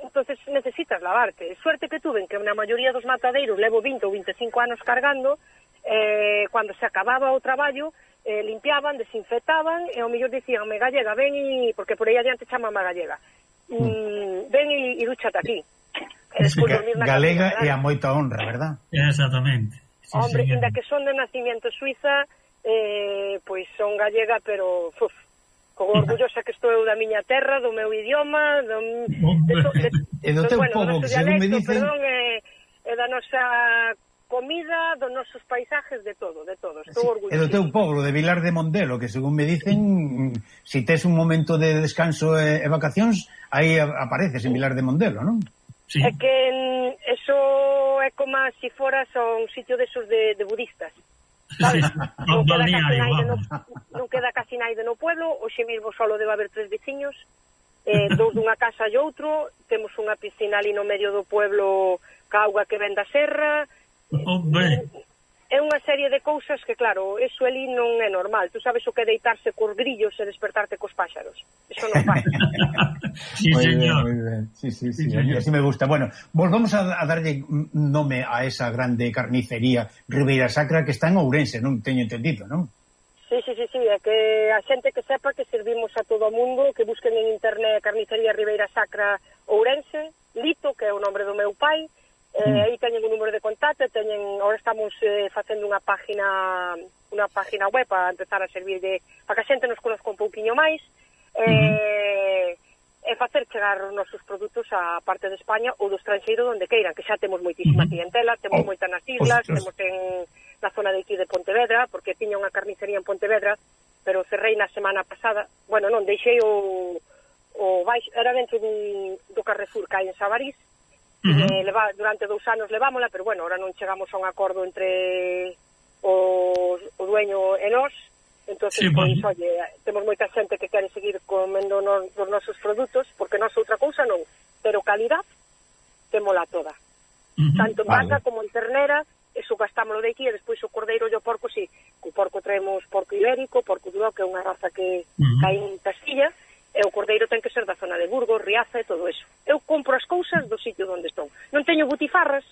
Entonces necesitas lavarte. Suerte que tuve que na maioría dos matadeiros levo vinte ou vinte e cinco anos cargando, eh, cando se acababa o traballo, eh, limpiaban, desinfectaban, e ao mellor dicíanme, gallega, ven e... porque por aí adiante chamame a gallega. Mm, ven e, e dúchate aquí. E despois dormir na galega casa, é a moita honra, verdad? Exactamente. Sí, hombre, inda que son de nacimiento suiza, eh, pois son gallega, pero uf, con orgullosa que estou eu da miña terra, do meu idioma, do, de, to, de, e do teu bueno, povo, que según dialecto, me dicen... Perdón, e, e da nosa comida, dos nosos paisajes, de todo, de todo. Estou orgullosa. E do teu povo, de Vilar de Mondelo, que según me dicen, si tes un momento de descanso e, e vacacións, aí apareces en Vilar de Mondelo, non? Sí. É que eso é como se si foras a un sitio desos de, de budistas. ¿Sabes? Sí. Non, queda casi naide no, non queda casi naide no pueblo, hoxe mesmo solo debe haber tres veciños, eh, dous dunha casa e outro, temos unha piscina ali no medio do pueblo ca auga que ven da serra. Hombre. É unha serie de cousas que, claro, eso ali non é normal. Tú sabes o que é deitarse cos grillos e despertarte cos páxaros. Eso non pasa. Sí, muy señor. Bien, muy bien. Sí, sí, sí, sí, así me gusta. Bueno, volvamos a, a darlle nome a esa grande carnicería Ribeira Sacra que está en Ourense, non teño entendido, non? Sí, sí, sí, sí, é que a xente que sepa que servimos a todo o mundo, que busquen en internet Carnicería Ribeira Sacra Ourense, Lito, que é o nombre do meu pai. Eh, mm. Aí teñen un número de contacto, teñen, ahora estamos eh, facendo unha página unha página web para empezar a servir de, para que a xente nos conozca un pouquiño máis, eh, mm-hmm. e facer chegar os nosos produtos a parte de España ou do estranxeiro donde queiran, que xa temos moitísima mm-hmm. clientela, temos oh, moita nas islas, ostras. Temos en na zona de aquí de Pontevedra, porque tiña unha carnicería en Pontevedra, pero cerrei na semana pasada, bueno, non, deixei o, o baixo, era dentro dun, do Carrefour que hai en Sabarís. Uh-huh. Eh, leva, durante dous anos levámola, pero bueno, ahora non chegamos a un acordo entre o, o dueño e nós, entonces, sí, pois, bueno. Oye, temos moita xente que quere seguir comendo nos, nos nosos produtos, porque nós outra cousa non, pero calidad, témola toda. -huh. Tanto en vale. vaca como en ternera, eso gastámoslo de aquí, e despois o cordeiro e o porco, sí, co porco traemos porco ibérico, porco duro, que é unha raza que uh -huh. cae en Castilla, e o cordeiro ten que ser da zona de Burgos, Riaza e todo eso. Eu compro as cousas do sitio onde estou. Non teño butifarras,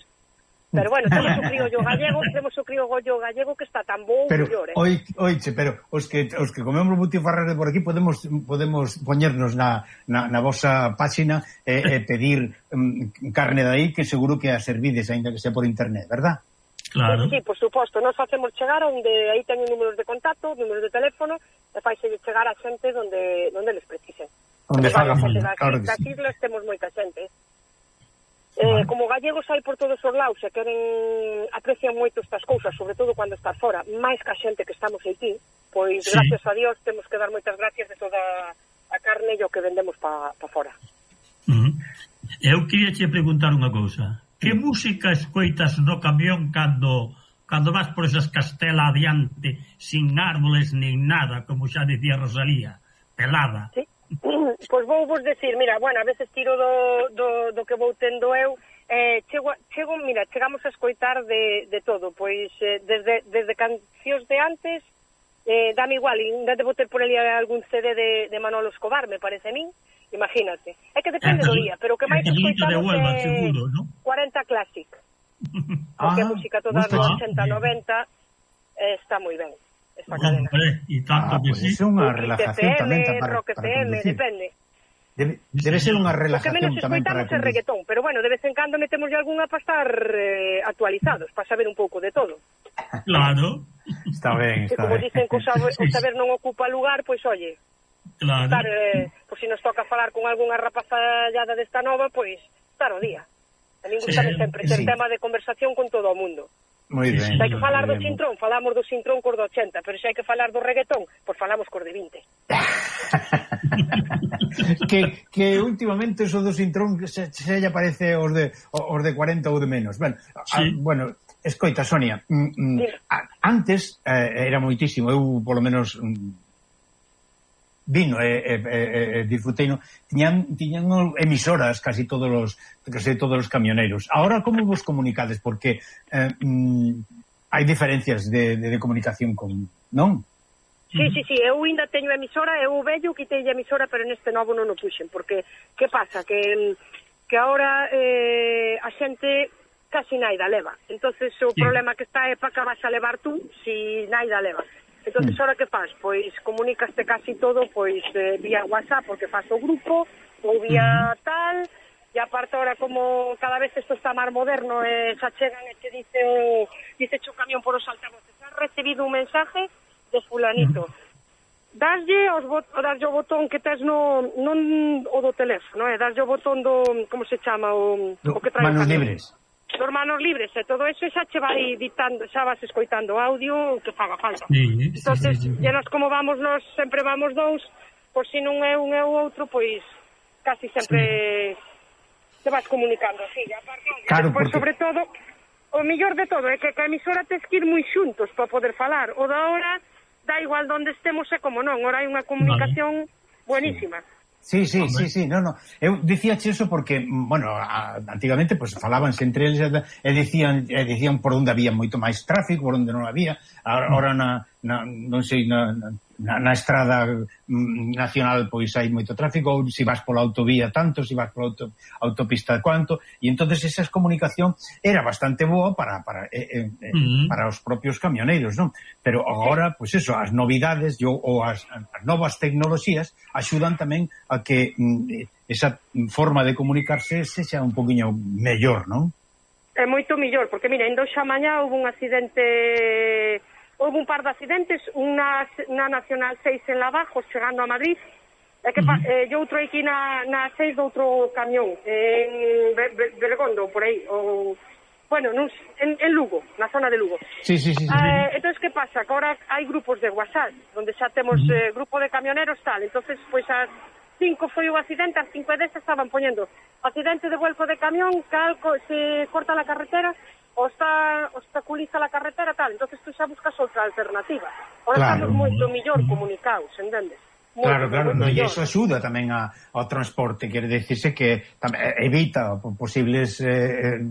pero bueno, temos o criollo gallego, temos o criollo gallego que está tan bo pero, mellor, eh? Oi, oiche, pero os que os que comemos butifarras de por aquí podemos podemos poñernos na, na, na vosa páxina e, e pedir um, carne de aí, que seguro que a servides, aínda que sea por internet, verdad? Claro. Sí, sí, por suposto, nos facemos chegar onde aí teñen números de contacto, números de teléfono, e faise chegar a xente onde onde les precisen. Onde faga falta, claro que sí. Das islas temos moita xente. Eh, como gallegos hai por todos os lados e queren, aprecian moito estas cousas, sobre todo cando estás fora, máis que a xente que estamos aquí, pois sí. Gracias a Dios temos que dar moitas gracias de toda a carne e o que vendemos pa, pa fora. Uh -huh. Eu queria che preguntar unha cousa. Que música escoitas no camión cando cando vas por esas Castela adiante, sin árboles nin nada, como xa dicía Rosalía, pelada? Sí. Pois vou vos decir, mira, bueno, a veces tiro do, do, do que vou tendo eu, eh, chego, chego, mira, chegamos a escoitar de, de todo, pois eh, desde, desde cancións de antes, eh, dame igual, ainda debo ter por ali algún C D de, de Manolo Escobar, me parece a min, imagínate. É que depende do día, pero o que máis escoitamos é cuarenta Classic. Porque a música toda dos ochenta, noventa eh, está moi ben, esta cadena. E tanto que sí. É unha relajación tamén para Rock F M, depende. Debe, debe ser unha relajación tamén para conducir. O que menos escoitamos é reggaetón, pero bueno, de vez en cando metemos algunha para estar eh, actualizados, para saber un pouco de todo. Claro. Está ben, está como ben. dicen que o saber, o saber non ocupa lugar, pois oye, claro. Estar, eh, pois se nos toca falar con algunha rapazallada desta nova, pois estar o día. A mí gusta sí, sempre ter sí. tema de conversación con todo o mundo. Moi ben. Se hai que falar do cintrón, falamos do cintrón cor do ochenta, pero se hai que falar do reggaetón, pois falamos cor de vinte. que, que últimamente eso do cintrón se, se lle parece os de, os de cuarenta ou de menos. Bueno, sí. a, bueno escoita, Sonia, mm, mm, sí. a, antes eh, era moitísimo, eu polo menos mm, vino e eh, eh, eh, disfruteino, tiñan, tiñan emisoras casi todos os casi todos os camioneiros. Ahora como vos comunicades? Porque eh, mm, hai diferencias de, de, de comunicación con, non? Sí, sí, sí, eu ainda teño emisora, eu vello quitei a emisora, pero neste novo non o puxen, porque que pasa? Que, que ahora eh, a xente casi naida leva, entonces o sí. problema que está é para que vas a levar tú si naida leva. Entonces, ahora que faz? Pois comunicaste casi todo pois eh, vía WhatsApp, porque faz o grupo, ou vía uh-huh. tal, e aparte ahora como cada vez isto está máis moderno, eh, xa chegan e te dice o, dice o camión por os altavoces, has recibido un mensaje de fulanito. Uh-huh. Daslle, os bot, daslle o botón que tes no, non o do teléfono, eh, daslle o botón do, como se chama, o, do, o que trae manos libres. Dos manos libres e todo eso, xa che vai dictando, xa vas escoitando audio que faga falta. Sí, entonces, sí, sí, sí. E nos como vamos, nos sempre vamos dous, por si non é un e o outro, pois casi sempre sí. te vas comunicando, sí. E aparte, claro, despois, porque... sobre todo, o mellor de todo é que a emisora tes que ir moi xuntos para poder falar. O da hora, da igual donde estemos e como non, ora hai unha comunicación vale. buenísima. Sí. Sí, sí, sí, sí, no, no. Eu dicíache eso porque, bueno, a, antigamente pues falábanse entre eles e dicían e dicían por onde había moito máis tráfico, por onde non había. Agora na, na non sei, na, na, na estrada nacional pois hai moito tráfico, ou se vas pola autovía tanto, se vas pola auto, autopista cuanto, e entonces esa comunicación era bastante boa para para eh, eh, uh-huh. para os propios camioneiros, non? Pero agora, pois eso, as novidades ou, ou as, as novas tecnoloxías axudan tamén a que mm, esa forma de comunicarse sexa un poquinho mellor, non? É moito mellor, porque mira, en xa mañá houve un accidente, houve un par de accidentes, unha na Nacional seis en Lavajos, chegando a Madrid, e que uh-huh. eh, e outro aquí na, na seis do outro camión, en Bergondo, por aí, ou, bueno, nun, en, en Lugo, na zona de Lugo. Sí, sí, sí. sí. Eh, entón, que pasa? Que ahora hai grupos de WhatsApp, onde xa temos uh-huh. eh, grupo de camioneros tal, entonces, pois, as cinco foi o accidente, as cinco desas estaban poñendo accidente de vuelco de camión, calco, se corta la carretera, o está obstaculiza la carretera, tal, entonces tú xa buscas outra alternativa. Ahora claro. Estamos moito mellor comunicados, entendes? Moito, claro, claro, moito no, e mellor. iso axuda tamén a, ao transporte, quere dicirse que tamén evita posibles eh,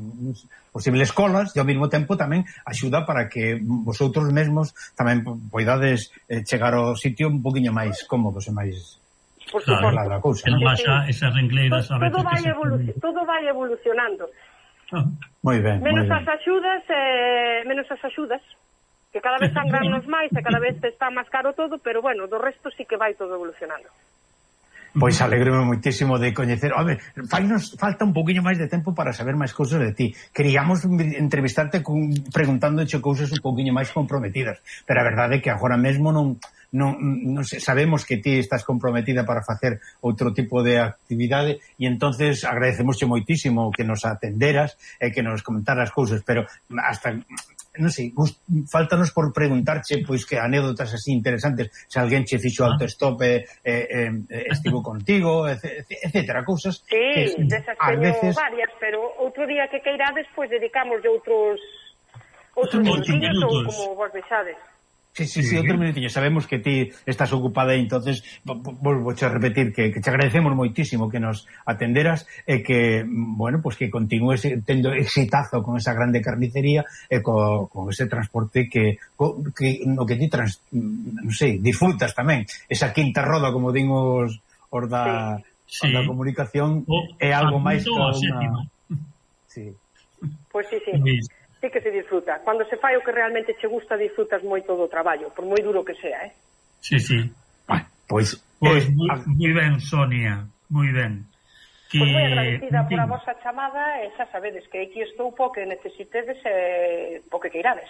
posibles colas e ao mesmo tempo tamén axuda para que vosotros mesmos tamén poidades eh, chegar ao sitio un poquinho máis cómodos e máis por suposto, claro, da cousa, ¿no? Baixa esas rencleiras a veces todo vai que se... evolucionando, todo vai evolucionando. Ah. Moi ben, menos moi ben. as axudas, eh, menos as axudas, que cada vez sangrarnos máis e cada vez está máis caro todo, pero bueno, do resto sí que vai todo evolucionando. Pois alegrome moitísimo de coñecer. A ver, fainos falta un poquinho máis de tempo para saber máis cousas de ti. Queríamos entrevistarte con, preguntándoche cousas un poquinho máis comprometidas, pero a verdade é que agora mesmo non, non, non sei, sabemos que ti estás comprometida para facer outro tipo de actividade e entonces agradecemosche moitísimo que nos atenderas e que nos comentaras cousas, pero hasta... non sei, faltanos por preguntarche pois que anécdotas así interesantes, se alguén che fixo autostop e eh, eh, estivo contigo, etcétera, cousas sí, que desas ás teño veces varias, pero outro día que queirades pois dedicamos de outros outros minutinhos ou como vos deixades. Sí, sí, sí, outro minutinho. Sabemos que ti estás ocupada e entonces volvo a repetir que, que te agradecemos moitísimo que nos atenderas e que, bueno, pues que continúes tendo exitazo con esa grande carnicería e co, con ese transporte que, co, que no que ti trans, non sei, disfrutas tamén. Esa quinta roda, como dimos os da, sí. da comunicación, oh, é algo máis que unha... Sí. Pois sí, sí. sí. Sí que se disfruta. Cando se fai o que realmente che gusta, disfrutas moito do traballo, por moi duro que sea, eh? Sí, sí. Bueno, pois... Pois eh, moi, moi ben, Sonia, moi ben. Que... Pois moi agradecida por a vosa chamada e xa sabedes que aquí estou po que necesitedes e po que queirades.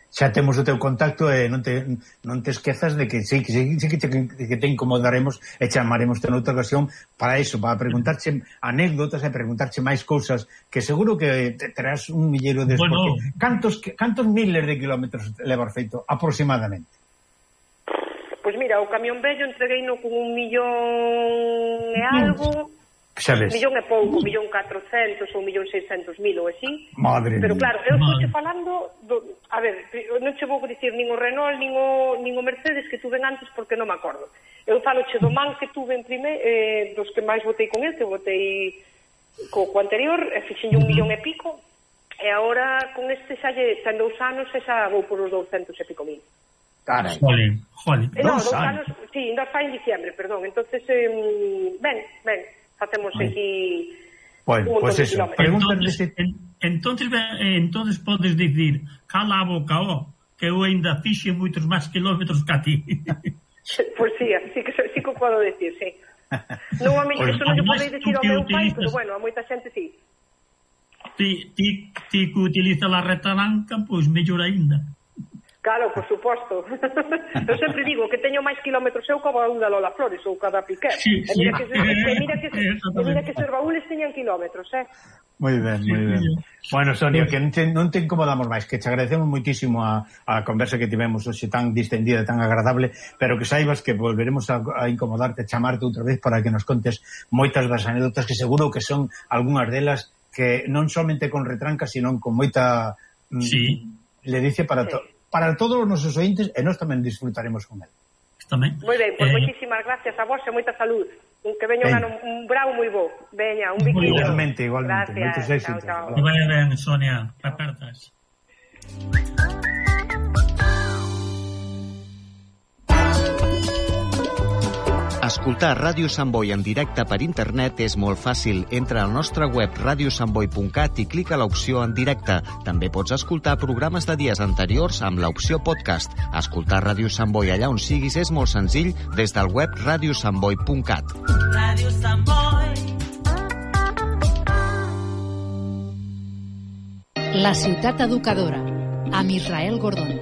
Xa temos o teu contacto e non te, non te esquezas de que sí, que, sí, sí, que, te, que te incomodaremos e chamaremos te noutra ocasión para iso, para preguntarche anécdotas e preguntarche máis cousas que seguro que te terás un millero de... Bueno. Cantos, cantos miles de kilómetros levar feito aproximadamente? Pois mira, o camión vello entregueino con un millón e algo... Sabes. Millón e pouco, millón catrocentos ou millón seiscentos mil ou así. Madre pero mía. claro, eu estou falando do, a ver, non che vou dicir nin o Renault nin o, nin o Mercedes que tuve antes porque non me acordo. Eu falo che do man que tuve en primeiro, eh, dos que máis botei con el, que botei co, co anterior, e fixen un millón e pico, e agora con este xa lle ten dous anos e xa vou por os douscentos e pico mil. Carai. Jolín, jolín. Eh, no, dous anos, sí, ainda fai en diciembre, perdón. Entonces, eh, ben, ben, facemos aquí bueno, un montón pues de eso. kilómetros. Entonces, en, entonces, entonces podes dicir, cala a boca, ó, que eu ainda fixe moitos máis kilómetros que a ti. Pois sí, sí que, sí que podo decir, sí. Non a mí, Pues, eso non lle además, podei decir tú ao que meu pai, utilizas- pero bueno, a moita xente sí. Ti, ti, ti que utiliza la retaranca, pois mellor aínda. Claro, por suposto. Eu sempre digo que teño máis kilómetros eu como a unha Lola Flores ou cada Piquer. Sí, E mira sí. que, se, e mira que, se, e Exactamente. mira que os baúles teñan kilómetros, eh? Moi ben, moi ben. Bueno, Sonia, que non te, non te incomodamos máis, que te agradecemos moitísimo a, a conversa que tivemos hoxe tan distendida, tan agradable, pero que saibas que volveremos a, a incomodarte, a chamarte outra vez para que nos contes moitas das anécdotas que seguro que son algunhas delas que non somente con retranca, sino con moita mm, Sí. ledicia para, to, para todos os nosos ointes e nós tamén disfrutaremos con el. Tamén. Moi ben, pois Eh, moitísimas gracias a vos e moita salud. Un que veña un, Ben. ano, un bravo moi bo. Veña, un biquillo. Igualmente, igualmente. Moitos Gracias, éxitos. chao, chao. Que vaya ben, Sonia, apertas. Escoltar Ràdio Sant Boi en directe per internet és molt fàcil. Entra al nostre web radio sant boi punt cat i clica l'opció en directe. També pots escoltar programes de dies anteriors amb l'opció podcast. Escoltar Ràdio Sant Boi allà on siguis és molt senzill des del web radio sant boi punt cat. Ràdio Sant Boi. La ciutat educadora, amb Israel Gordon.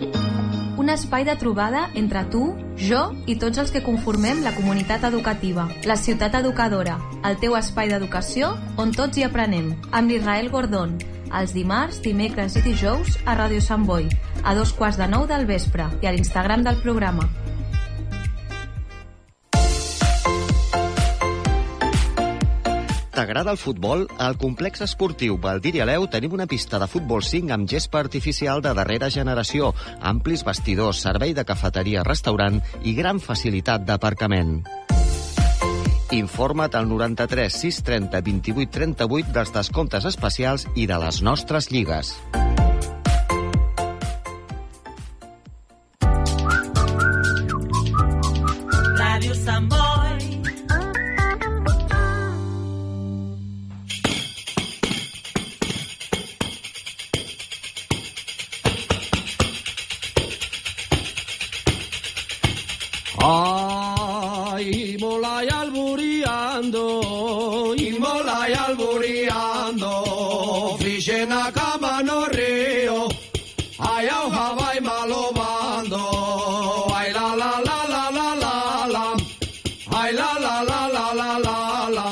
Un espai de trobada entre tu, jo i tots els que conformem la comunitat educativa. La ciutat educadora, el teu espai d'educació on tots hi aprenem. Amb l'Israel Gordon, els dimarts, dimecres i dijous a Ràdio Sant Boi, a dos quarts de nou del vespre i a l'Instagram del programa. T'agrada el futbol? Al complex esportiu Valdir i Aleu tenim una pista de futbol cinc amb gespa artificial de darrera generació, amplis vestidors, servei de cafeteria, restaurant i gran facilitat d'aparcament. Informa't al noranta-tres sis trenta vint-i-vuit trenta-vuit dels descomptes especials i de les nostres lligues. Ràdio Sant Boi. Ay, molay alburiando, y molay alburiando, fixen a cama no río, ay, auja vai malobando, ay, la, la, la, la, la, la, la, ay, la, la, la, la, la, la, la.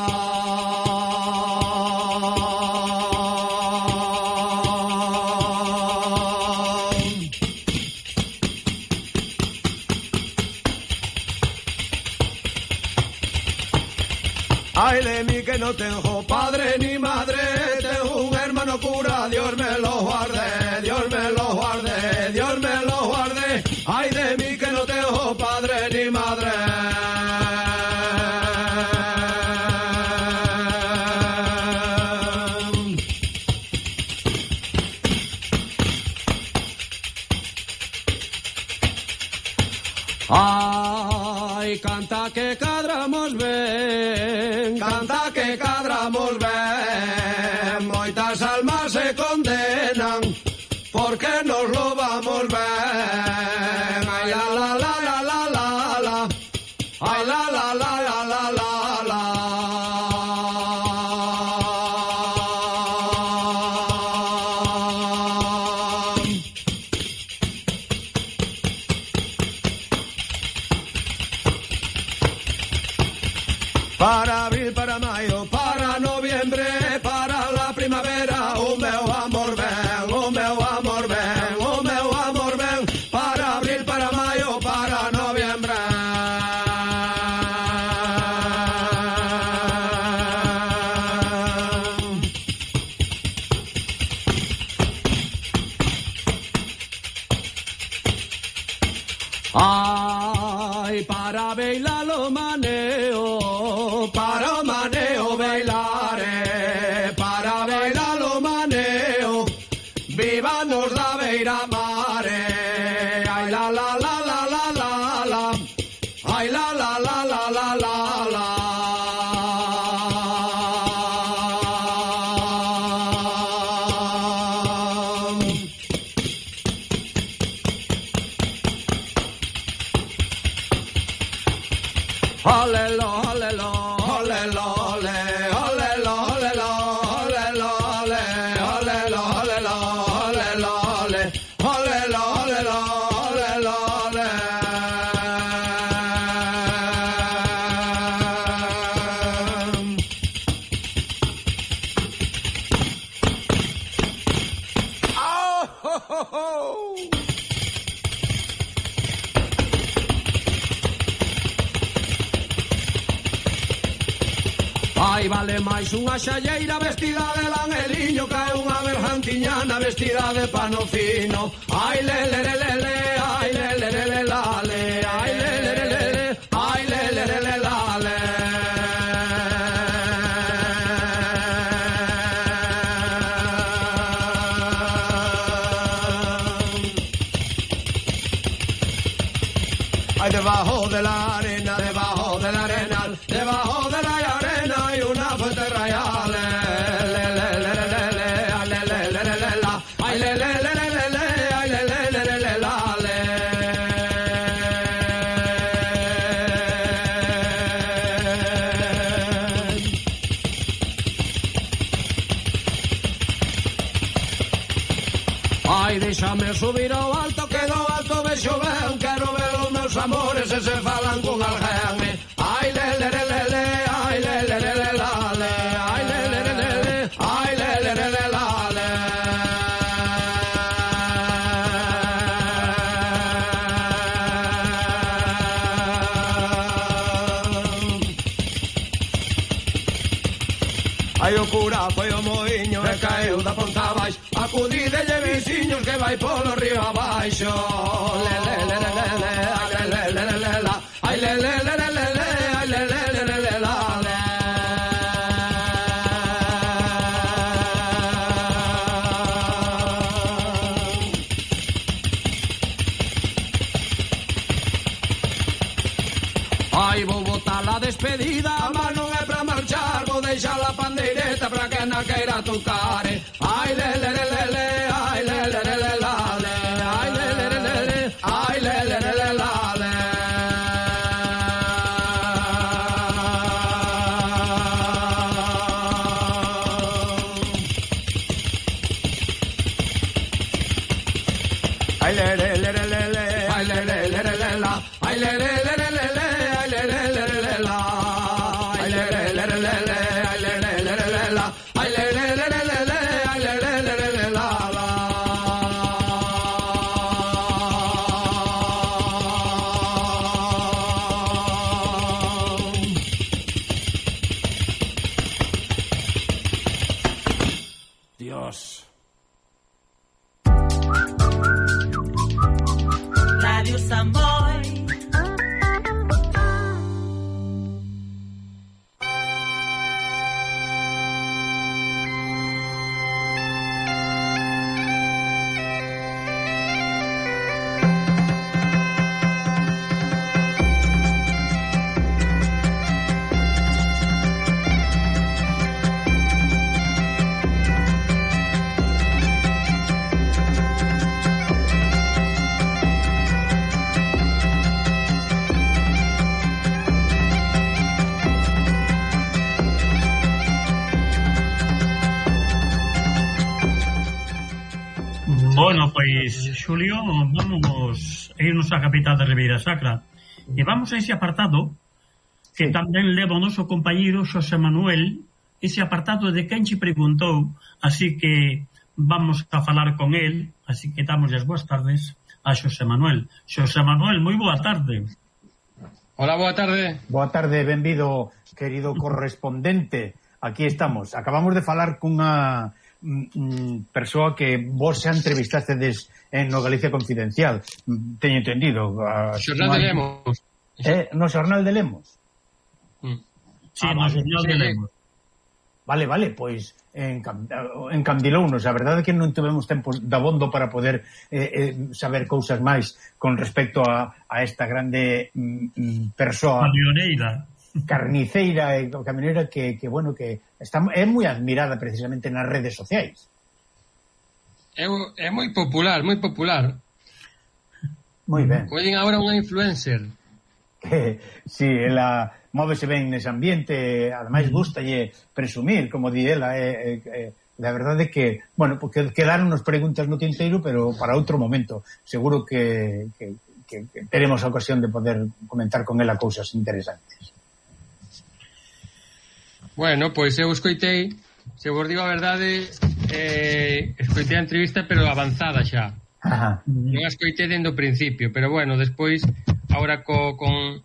Ay de mí que no tengo padre ni madre, tengo un hermano cura, Dios me lo guarde, Dios me lo guarde, Dios me lo guarde. Ay de mí que no tengo padre ni madre. Ay, canta que cadramos ben, canta que cadramos ben, moitas almas se condenan, porque nos lo vamos ben. Ay, la, la, la, la, la, la, la, ay, la, la, la, la, la, la, la. Para abril, para mayo, para noviembre, para la primavera, o meu amor ven, o meu amor ven, o meu amor ven, para abril, para mayo, para noviembre. Ay, para bailar lo maneo, para maneo bailare, para bailar lo maneo, vivanos la beira mare. Ay, la, la, la, la, la, la, la, ay, la, la, la, la, la, la, la. Olelo, olelo, olelo, ole, olelo, olelo, olelo, ole, olelo, olelo, olelo, ole, olelo, olelo, olelo, ole. Oh, ho, ho, ho. Ai, vale máis unha xalleira vestida de langeliño que unha bergantiñana vestida de pano fino. Ai, le, le, le, le, le, ai, le, le, le, le, la, le, ai, le, le, le, le, le, ai, le, le, le, le, la, le. Ay, debajo de la arena, debajo de la arena, debajo de la arena hay una fuente real. Le, le, le, le, le, le, ay, le, le, le, le, le, la, ay, le, le, le, le, le, le, ay, le, le, le, le, le, la, le. Ay, déxame subir ao alto, que do alto vexo ben, quero ver os meus amores e se falan con alguén. Ay, le, le, le, le, le, ay, le, le, le, le, la, le, ay, le, le, le, le, le, ay, le, le, le, le, la, le. foi o moinho e caeu da ponta abaixo. Acudidelle veciños que vai polo río abaixo. Le le le le le le, ai le le le le la, ai le le le le le le, ai le le le le le la. Ai vou botar la despedida, mas non é pra marchar, vou deixar la pandeireta pra que na queira tocar. Ai le le le le le, ai le le le le la le, ai le le le le le, ai le le le le la le. Ai le le le le le le, ai le le le le le la, ai le le le le le le, ai le le le le le la, ai le le le le le le, ai le le le le le la, ai le le le le le le, ai le le le le le la la. Dios. Radio Samboy. Bueno, pois, Xulio, vamos a irnos á capital de Ribeira Sacra e vamos a ese apartado que tamén leva o noso compañeiro Xosé Manuel, ese apartado de quen che preguntou, así que vamos a falar con él, así que damos as boas tardes a Xosé Manuel. Xosé Manuel, moi boa tarde. Hola, boa tarde. Boa tarde, benvido, querido correspondente. Aquí estamos. Acabamos de falar cunha mm, persoa que vos xa entrevistastedes en no Galicia Confidencial. Teño entendido. A Xornal de Lemos. Eh, no Xornal de Lemos. Mm. Sí, Ah, no vale. Xornal de Lemos. Vale, vale, pois encandilounos. A verdade é que non tivemos tempo de abondo para poder eh, eh, saber cousas máis con respecto a, a esta grande mm, persoa camioneira carniceira e camioneira que, que bueno, que está, é moi admirada precisamente nas redes sociais. É, é moi popular, moi popular. Moi ben. Collen agora unha influencer. Que, si, ela móvese ben nese ambiente, ademais gustalle presumir, como di ela, é, é, é, la verdade é que, bueno, porque quedaron nos preguntas no tinteiro, pero para outro momento. Seguro que, que, que, que teremos a ocasión de poder comentar con ela cousas interesantes. Bueno, pois eu escoitei, se vos digo a verdade, eh, escoitei a entrevista, pero avanzada xa. Ajá. Non a escoitei dende o principio, pero bueno, despois, agora co, con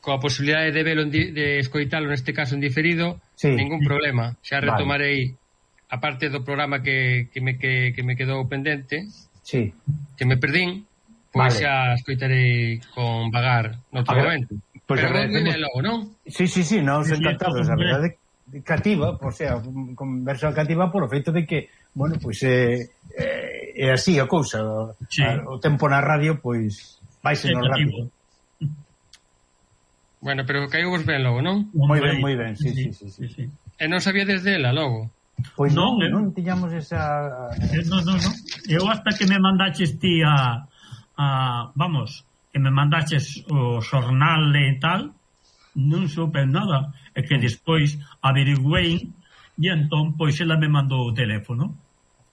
coa posibilidade de velo, de escoitalo neste caso en diferido, sí, ningún problema. Xa retomarei vale. a parte do programa que, que, me, que, que me quedou pendente, sí, que me perdín, pois vale. xa escoitarei con vagar noutro momento. Pues pero vos vine logo, non? Sí, sí, sí, nos Sí, encantados, sí, a verdade cativa, o sea, conversa cativa por o feito de que, bueno, pois é eh, é así a cousa, sí. a, o tempo na radio, pois vaise no rápido. Bueno, pero caíu vos ben logo, non? Moi ben, moi ben, sí, sí, sí, sí, sí. E non sabía desde ela logo? Pois non, Non, eh. non tiñamos esa... Eh, no, no, no. Eu hasta que me mandaches ti a, a vamos, que me mandaches o xornal e tal, non supe nada. E que despois averiguei e entón, pois, ela me mandou o teléfono.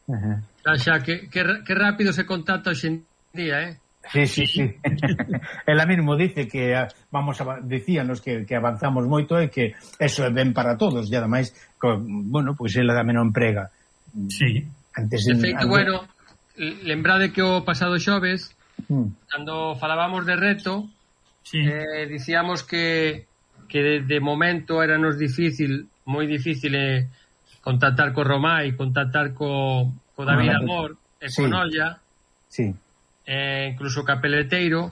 Uh-huh. Xa, xa, que, que, que rápido se contacta hoxe en día, eh? Sí, sí, sí. Ela mesmo dice que vamos a, dicíanos que, que avanzamos moito e que eso é ben para todos, e ademais, co, bueno, pois pues ela tamén o emprega. Sí. Antes de de feito, antes... bueno, lembrade que o pasado xoves, mm. cando falábamos de reto, sí. eh, dicíamos que que de, de momento era nos difícil, moi difícil eh, contactar co Romai, contactar co, co David Ah, Amor e sí. con Olla, Sí. eh, incluso ca Peleteiro,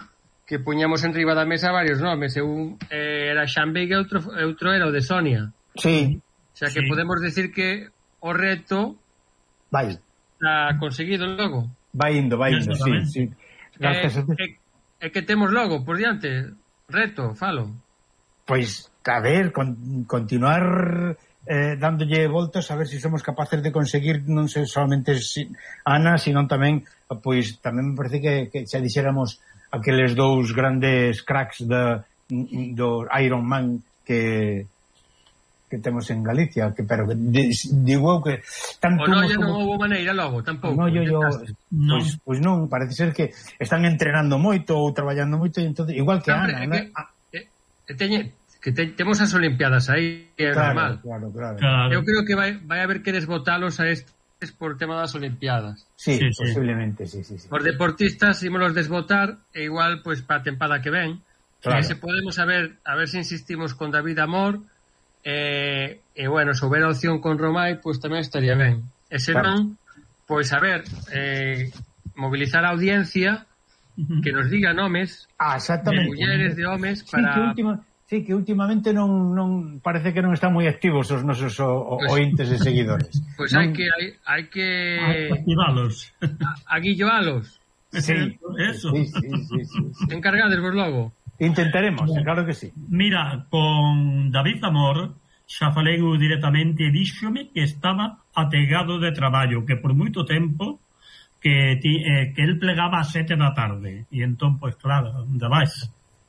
que puñamos en riba da mesa varios nomes. Eu eh, era Xan Veiga e outro, outro era o de Sonia. Sí. O sea que Sí. podemos decir que o reto vai está conseguido logo. vai indo, vai indo, sí, sí. E, e, e que temos logo por diante? Reto, falo. Pois, a ver, con, continuar eh, dándolle voltas a ver se si somos capaces de conseguir non sei solamente si, Ana, sino tamén pois tamén me parece que, que xa dixéramos aqueles dous grandes cracks de, do Iron Man que que temos en Galicia, que pero que de, digo eu que tanto O no, como... non houve maneira logo, tampouco. No, yo, yo, No. pois, pois non, parece ser que están entrenando moito ou traballando moito e entonces, igual que Hombre, Ana, é ¿no? que, é, é teñe, que te, temos as Olimpiadas aí, é Claro, normal. claro, claro. Eu creo que vai, vai haber que desbotalos a estes por tema das Olimpiadas. Sí, sí, posiblemente, sí, sí, sí. Por deportistas ímolos desbotar e igual pois para a tempada que ven. Claro. E se podemos a ver, a ver se insistimos con David Amor e, e bueno, se houbera opción con Romai, pois tamén estaría ben. E se non, pois a ver, eh, mobilizar a audiencia que nos diga nomes ah, de mulleres, de homes Sí, para... que última, sí, que últimamente non, non parece que non están moi activos os nosos o, o, Pues- ointes e seguidores. Pois Non- hai que hai, hai que activalos. aguilloalos. Sí, Eso. sí, sí, sí, sí, sí. Encargades vos logo. Intentaremos, claro que sí. Mira, con David Amor xa falei eu directamente e díxome que estaba ategado de traballo, que por moito tempo que, ti, eh, que el plegaba a sete da tarde e entón, pois claro, onde vais?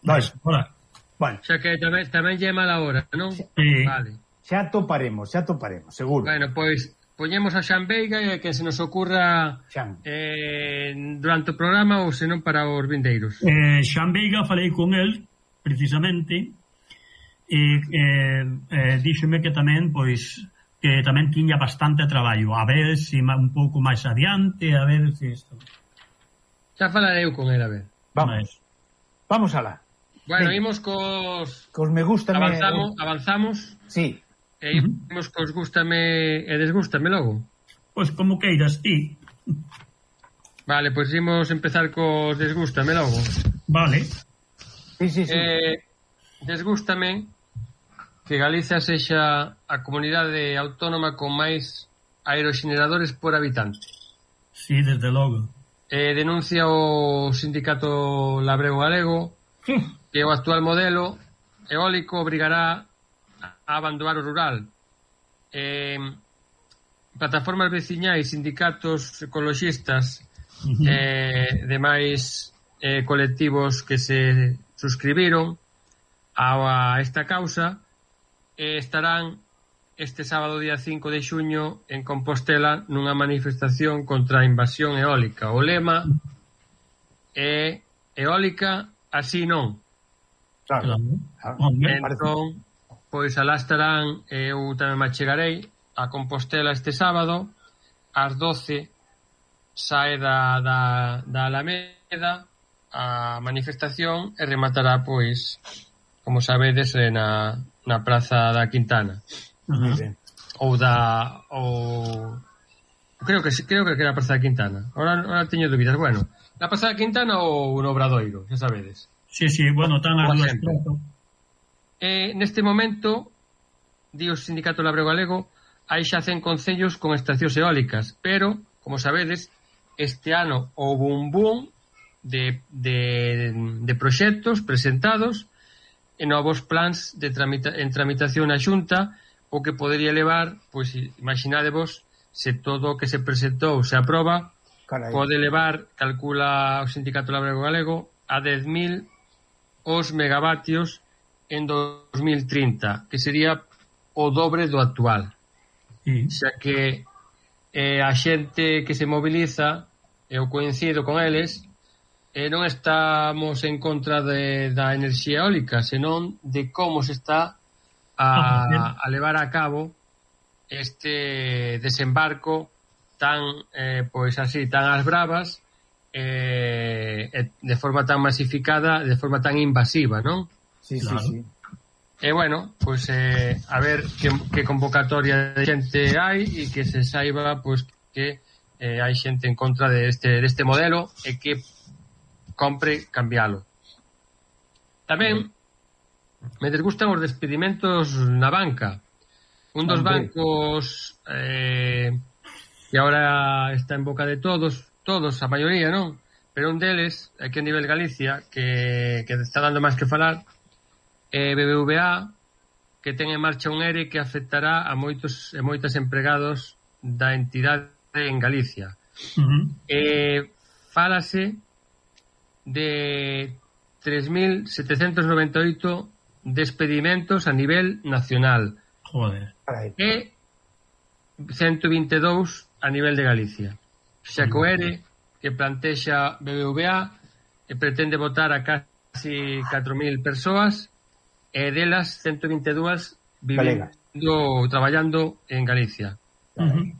Vais. Hola. Bueno. Xa que tamén, tamén lle mala hora, non? Sí. Vale. Xa toparemos, xa toparemos, seguro. Bueno, pois poñemos a Xan Veiga e que se nos ocurra Xan. eh, durante o programa ou senón para os vindeiros. Eh, Xan Veiga falei con el precisamente e eh, eh, díxome que tamén pois que tamén tiña bastante traballo, a ver se si un pouco máis adiante, a ver se si isto. Xa falarei eu con el, a ver. Vamos. Vamos alá. Bueno, Ven. imos cos Cos me gusta avanzamos, avanzamos. Sí. E imos cos gústame e desgústame logo. Pois como queiras ti. Vale, pois imos empezar cos desgústame logo. Vale. Sí, sí, sí. Eh, desgústame que Galicia sexa a comunidade autónoma con máis aeroxeneradores por habitante. Sí, desde logo. Eh, denuncia o sindicato Labrego Galego que o actual modelo eólico obrigará a abandonar o rural. Eh, plataformas veciñais, sindicatos ecologistas, Uh-huh. eh, demais eh, colectivos que se suscribiron a, a esta causa eh, estarán este sábado día cinco de xuño en Compostela nunha manifestación contra a invasión eólica. O lema é eólica así non. Claro. Entón, pois alá estarán, eu tamén me achegarei a Compostela este sábado ás doce sae da, da, da Alameda a manifestación e rematará, pois, como sabedes, na, na Praza da Quintana. Muy bien. Ou da... ou... Creo que creo que era a Praza da Quintana. Ahora, ahora teño dúbidas. Bueno, na Praza da Quintana ou no Obradoiro, xa sabedes. Sí, sí, bueno, tan as dúas sempre. Eh, neste momento, di o Sindicato Labrego Galego, hai xa cen concellos con estacións eólicas, pero, como sabedes, este ano houve un boom de, de, de proxectos presentados e novos plans de tramita, en tramitación na Xunta, o que podería levar, pois imaginadevos, se todo o que se presentou se aproba, Carai. pode levar, calcula o Sindicato Labrego Galego, a dez mil os megavatios en dos mil trinta, que sería o dobre do actual. Sí. Xa que eh, a xente que se moviliza, eu coincido con eles, eh, non estamos en contra de, da enerxía eólica, senón de como se está a, a levar a cabo este desembarco tan, eh, pois así, tan ás bravas, eh, de forma tan masificada, de forma tan invasiva, non? Sí, Claro. sí, sí. E, bueno, pois eh, a ver que, que convocatoria de xente hai e que se saiba pois que eh, hai xente en contra deste, deste modelo e que compre cambialo. Tamén me desgustan os despedimentos na banca. Un dos bancos eh, que agora está en boca de todos, todos, a maioría, non? Pero un deles, aquí a nivel Galicia, que, que está dando máis que falar, é B B V A, que ten en marcha un ERE que afectará a moitos e moitas empregados da entidade en Galicia. Uh-huh. Eh, fálase de tres mil setecentos noventa e oito despedimentos a nivel nacional. Joder. E ciento vinte e dous a nivel de Galicia. Xa que o ERE que plantexa B B V A e pretende votar a casi catro mil persoas e delas ciento vinte e dúas vivendo, traballando en Galicia. Uh-huh.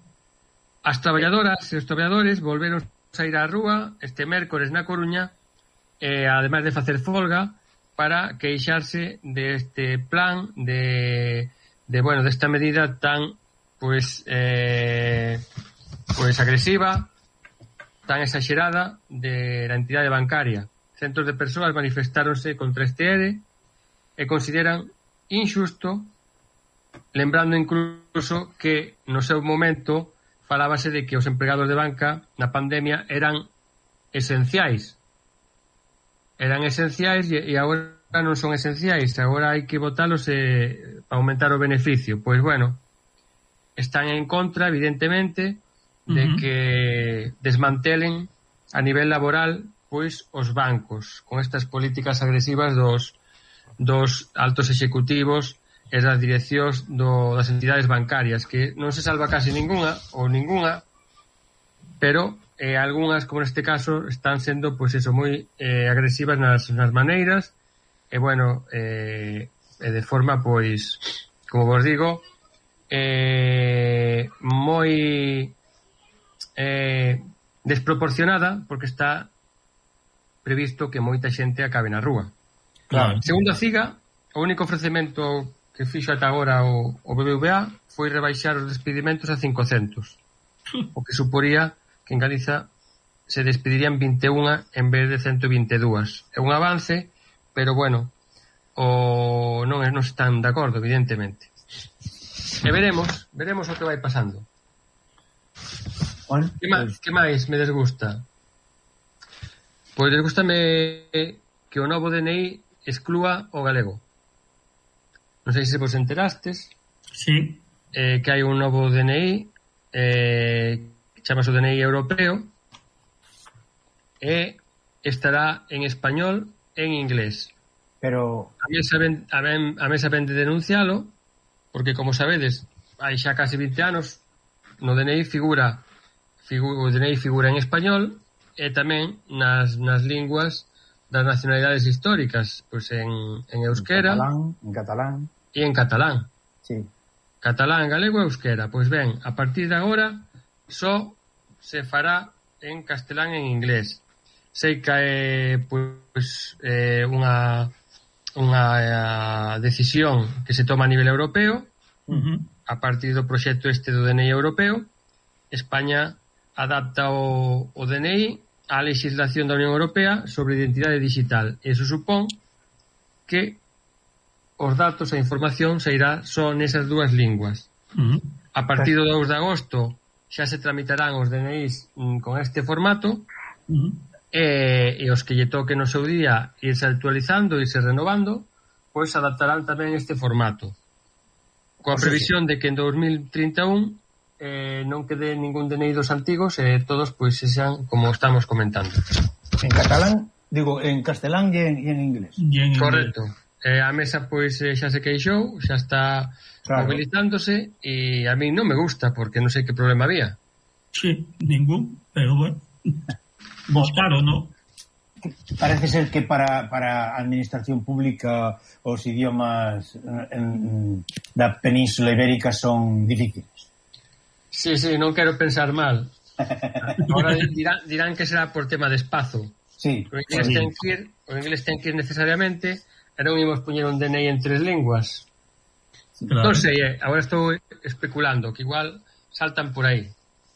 As traballadoras e os traballadores volveron a ir á rúa este mércores na Coruña e ademais de facer folga para queixarse deste plan de, de bueno, desta medida tan pois eh, pois agresiva, tan exagerada de la entidade bancaria. Centros de persoas manifestáronse contra este ERE e consideran injusto, lembrando incluso que no seu momento falábase de que os empregados de banca na pandemia eran esenciais. Eran esenciais e, e agora non son esenciais. Agora hai que votalos e, para aumentar o beneficio. Pois bueno, están en contra, evidentemente, de uh-huh. que desmantelen a nivel laboral pois os bancos con estas políticas agresivas dos, dos altos executivos e das direccións do, das entidades bancarias, que non se salva casi ninguna ou ninguna, pero eh, algunhas, como neste caso, están sendo pois eso, moi eh, agresivas nas, nas maneiras e bueno eh, e de forma pois como vos digo eh, moi eh, desproporcionada, porque está previsto que moita xente acabe na rúa. Claro. Segundo a CIGA, o único ofrecemento que fixo ata agora o, o B B V A foi rebaixar os despedimentos a cincocentos, o que suporía que en Galiza se despedirían vinte e unha en vez de ciento vinte e dúas. É un avance, pero bueno, o non, non están de acordo, evidentemente. E veremos, veremos o que vai pasando. Bueno, que, máis, que máis me desgusta? Pois desgústame que o novo D N I exclúa o galego. Non sei se vos enterastes. Sí. Eh, que hai un novo D N I eh, que chamase o D N I europeo e estará en español e en inglés. Pero a mesa ven, a, ven, a mesa ven de denuncialo porque, como sabedes, hai xa casi vinte anos no D N I figura, figura o D N I figura en español e tamén nas, nas linguas das nacionalidades históricas, pois en, en euskera, en catalán, en catalán e en catalán. Sí. Catalán, galego e euskera. Pois ben, a partir de agora só se fará en castelán e en inglés. Sei que é pois, eh, unha unha eh, decisión que se toma a nivel europeo uh-huh. a partir do proxecto este do D N I europeo. España adapta o, o D N I á legislación da Unión Europea sobre identidade digital. Eso supón que os datos e a información se irá só nesas dúas linguas. Uh-huh. A partir do dous de agosto xa se tramitarán os D N Is mm, con este formato uh-huh. e, e os que lle toque no seu día irse actualizando, irse renovando, pois adaptarán tamén este formato. Coa previsión de que en dos mil trinta e un eh, non quede ningún D N I dos antigos e todos pois se sean como estamos comentando. En catalán, digo, en castelán e en, e en inglés. Y en Correcto. Eh, a mesa pois eh, xa se queixou, xa está claro. Movilizándose e a mí non me gusta porque non sei que problema había. Sí, ningún, pero bueno. Buscaron, ¿no? Parece ser que para, para a administración pública os idiomas en, da Península Ibérica son difíciles. Sí, sí, non quero pensar mal. Ahora dirán, dirán que será por tema de espazo. Sí. O inglés, sí. ten que ir, o inglés ten que ir necesariamente e non imos poñer un D N I en tres linguas. Claro. Non sei, eh, agora estou especulando, que igual saltan por aí.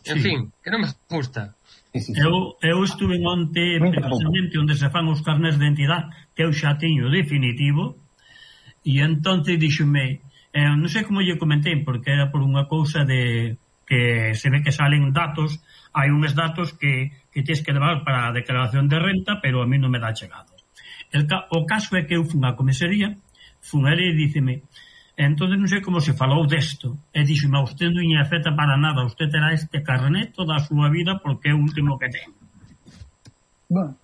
En Sí. fin, que non me gusta. Eu, eu estuve onte precisamente onde se fan os carnés de identidade, que eu xa teño definitivo, e entonces díxome, eh, non sei como lle comentei, porque era por unha cousa de que se ve que salen datos, hai uns datos que, que tens que levar para a declaración de renta, pero a mí non me dá chegado. El, o caso é que eu fun á comisaría, fun a e díceme, entonces non sei como se falou desto, e díxeme, a usted non lle afecta para nada, usted terá este carnet toda a súa vida porque é o último que ten. Bueno,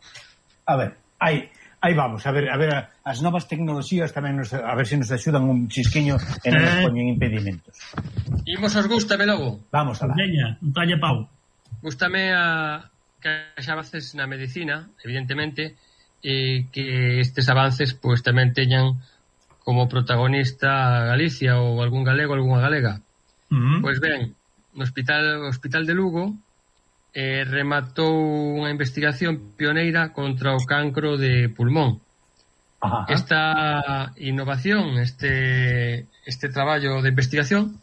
a ver, aí, aí vamos, a ver, a ver, as novas tecnoloxías tamén nos, a ver se nos axudan un chisquiño e non nos poñen impedimentos. Imos os gústame logo. Vamos alá. Veña, un talle pau. Gústame a que haxa avances na medicina, evidentemente, e que estes avances pois tamén teñan como protagonista a Galicia ou algún galego, algunha galega. Uh-huh. Pois ben, no hospital, hospital de Lugo eh, rematou unha investigación pioneira contra o cancro de pulmón. Ajá. Esta innovación, este, este traballo de investigación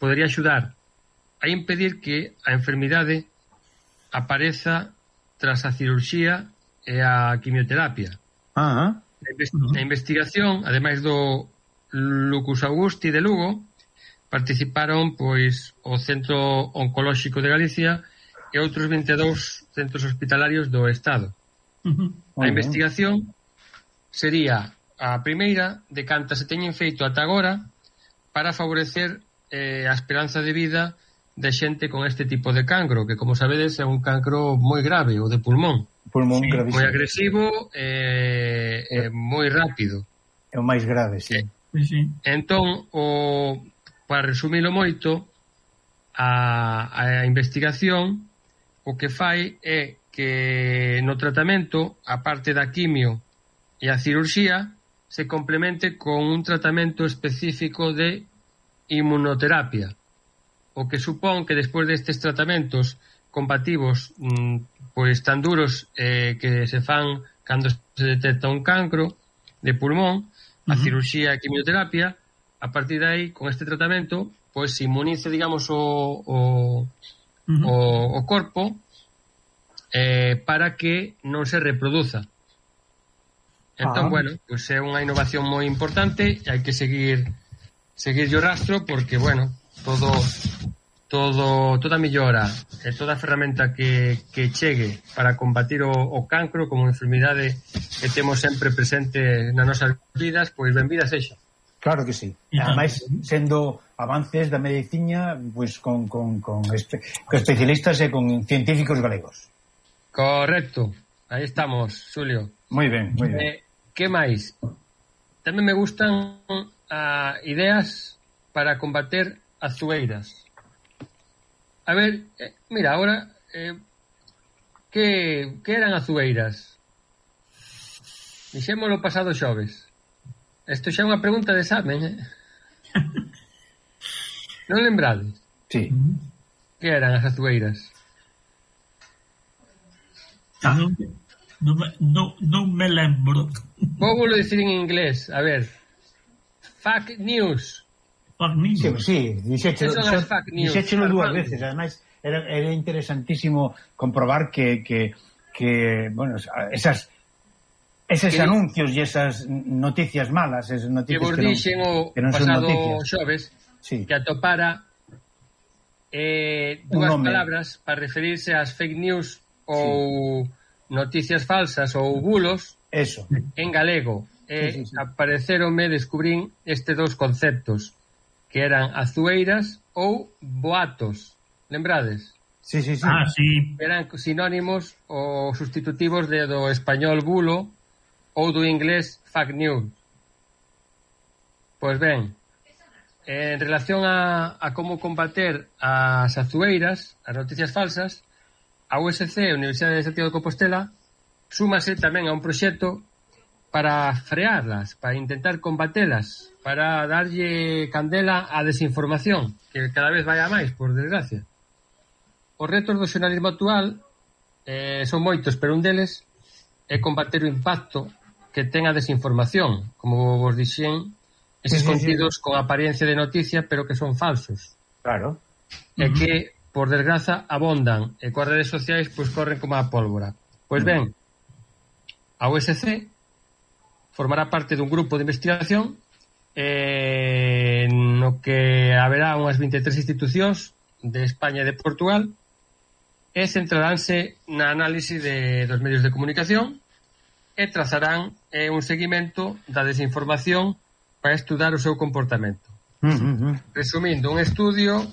podería axudar a impedir que a enfermidade apareza tras a cirurxía e a quimioterapia. Ajá. Na investigación, ademais do Lucus Augusti de Lugo, participaron pois o Centro Oncolóxico de Galicia e outros vinte e dous centros hospitalarios do Estado. Uh-huh. A investigación sería a primeira de cantas se teñen feito ata agora para favorecer eh, a esperanza de vida de xente con este tipo de cancro, que como sabedes é un cancro moi grave, o de pulmón. Pulmón Sí, gravísimo. moi agresivo e eh, eh, moi rápido. É o máis grave, sí. Sí, sí. Entón, o, para resumilo moito, a, a investigación o que fai é que no tratamento, a parte da quimio e a cirurxía, se complemente con un tratamento específico de inmunoterapia, o que supón que despois destes tratamentos combativos mmm, pois tan duros eh, que se fan cando se detecta un cancro de pulmón, a uh-huh. cirurxía e quimioterapia, a partir de aí, con este tratamento, pois se inmunice, digamos, o, o, uh-huh. o, o corpo eh, para que non se reproduza. Entón, ah. bueno, pois é unha innovación moi importante e hai que seguir seguir o rastro porque, bueno, todo todo toda mellora e toda a ferramenta que, que chegue para combatir o, o cancro como enfermidade que temos sempre presente nas nosas vidas, pois benvida sexa. Claro que sí. E ademais, sendo avances da medicina, pois con, con, con, espe con especialistas e con científicos galegos. Correcto. Aí estamos, Xulio. Moi ben, moi ben. Eh, que máis? Tamén me gustan uh, ideas para combater as zueiras. A ver, eh, mira, ahora eh, que, que eran as zueiras? Dixémolo pasado xoves. Isto xa é unha pregunta de examen, eh? Non lembrades? Sí. Que eran as azueiras? Ah, non, non, non, non me lembro. Vou volo dicir en inglés, a ver. Fake news. Fake news. Sí, sí, dixéchelo dúas Armando. veces. Ademais, era, era interesantísimo comprobar que, que, que bueno, esas eses que, anuncios e esas noticias malas, esas noticias que vos dixen o que non son pasado noticias. xoves, sí. que atopara eh, dúas palabras para referirse ás fake news ou sí. noticias falsas ou bulos. Eso. En galego. E sí, sí, sí. apareceronme, descubrín estes dous conceptos, que eran azueiras ou boatos. Lembrades? Sí, sí, sí. Ah, sí. Eran sinónimos ou sustitutivos de do español bulo ou do inglés fake news. Pois ben, en relación a, a como combater as azueiras, as noticias falsas, a U S C, a Universidade de Santiago de Compostela, súmase tamén a un proxecto para frearlas, para intentar combatelas, para darlle candela á desinformación, que cada vez vai a máis, por desgracia. Os retos do xornalismo actual eh, son moitos, pero un deles é combater o impacto que ten a desinformación, como vos dixen, eses sí, contidos sí, sí. con apariencia de noticia, pero que son falsos. Claro. E uh-huh. que, por desgraza, abondan, e coas redes sociais, pois corren como a pólvora. Pois ben, a U S C formará parte dun grupo de investigación eh, no que haberá unhas vinte e tres institucións de España e de Portugal e centraránse na análise de, dos medios de comunicación e trazarán eh, un seguimento da desinformación para estudar o seu comportamento. Uh-huh. Resumindo, un estudio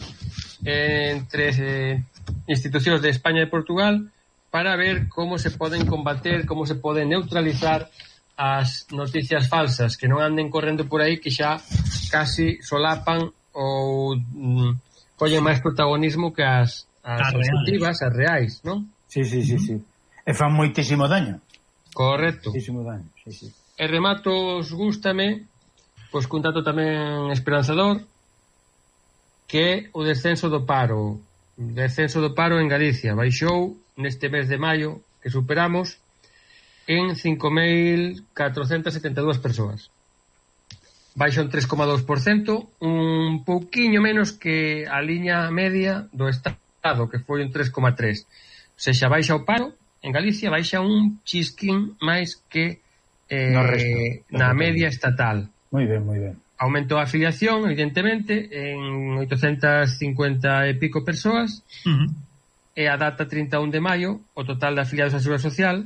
eh, entre eh, institucións de España e Portugal para ver como se poden combater, como se poden neutralizar as noticias falsas que non anden correndo por aí, que xa casi solapan ou mm, collen máis protagonismo que as as objetivas, as reais, non? Sí, sí, sí, sí. E fan moitísimo daño. Correcto. Moitísimo daño, sí, sí. E rematos, gústame, pois cun dato tamén esperanzador, que é o descenso do paro. O descenso do paro en Galicia. Baixou neste mes de maio, que superamos, en cinco mil catrocentas setenta e dúas persoas. Baixa un tres coma dous por cento, un pouquiño menos que a liña media do Estado, que foi un tres coma tres. O seja, baixa o paro en Galicia, baixa un chisquín máis que eh, no resto, na media estatal. Moi ben, moi ben. Aumentou a afiliación, evidentemente, en oitocentas cincuenta e pico persoas, uh-huh. e a data trinta e un de maio, o total de afiliados á Seguridade Social,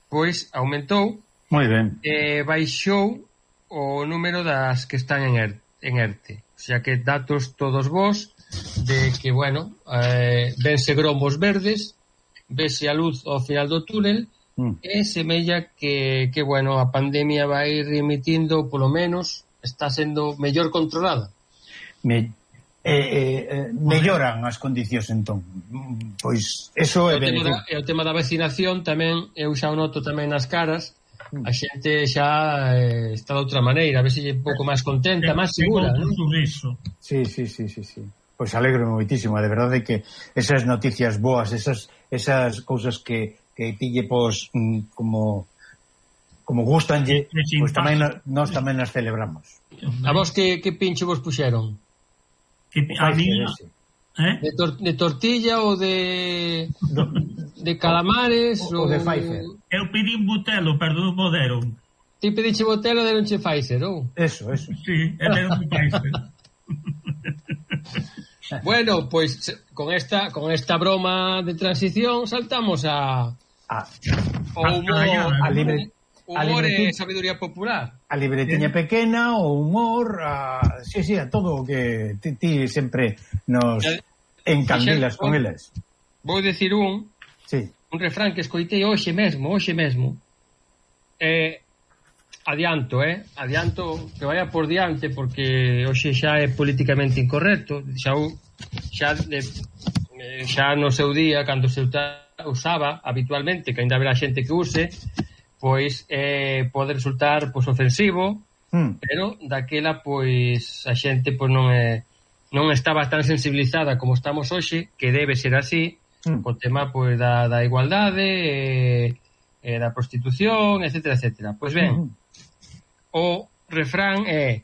pois aumentou. Moi ben. E baixou o número das que están en ERTE. En ERTE. O sea que datos todos vos de que, bueno, eh, vense gromos verdes, vese a luz ao final do túnel, mm. e semella que, que, bueno, a pandemia vai remitindo, polo menos, está sendo mellor controlada. Me, eh, eh, melloran as condicións, entón. Pois, eso é... E o, tema da, e o tema da vacinación tamén, eu xa o noto tamén nas caras, a xente xa eh, está de outra maneira, a ver se é un pouco máis contenta, máis segura, non? Sí, sí, sí, sí, sí. Pois alegro moitísimo, de verdade que esas noticias boas, esas esas cousas que que pille pois como como gustanlle, pois tamén nós tamén as celebramos. A vos que que pinche vos puxeron? Que a mí ¿Eh? De, tor de tortilla ou de de calamares ou de Pfizer. Eu pedi un botelo, perdón, mo deron. Ti pediche botelo e deronche Pfizer, ou? Eso, eso. Sí, e deron Pfizer. Bueno, pois pues, con esta con esta broma de transición saltamos a a o humor, a libre humor e sabiduría popular. A libretiña pequena, o humor, a sí, sí, a todo o que ti, ti sempre nos encandilas con elas. Vou dicir un, sí. un refrán que escoitei hoxe mesmo, hoxe mesmo. Eh, adianto, eh? Adianto que vaya por diante porque hoxe xa é políticamente incorrecto. Xa, xa, de, xa no seu día, cando se usaba habitualmente, que ainda haberá xente que use, pois eh, pode resultar pois, ofensivo, mm. pero daquela pois a xente pois, non é non estaba tan sensibilizada como estamos hoxe, que debe ser así, mm. o tema pois, da, da igualdade, e, e da prostitución, etcétera, etcétera. Pois ben, mm. o refrán é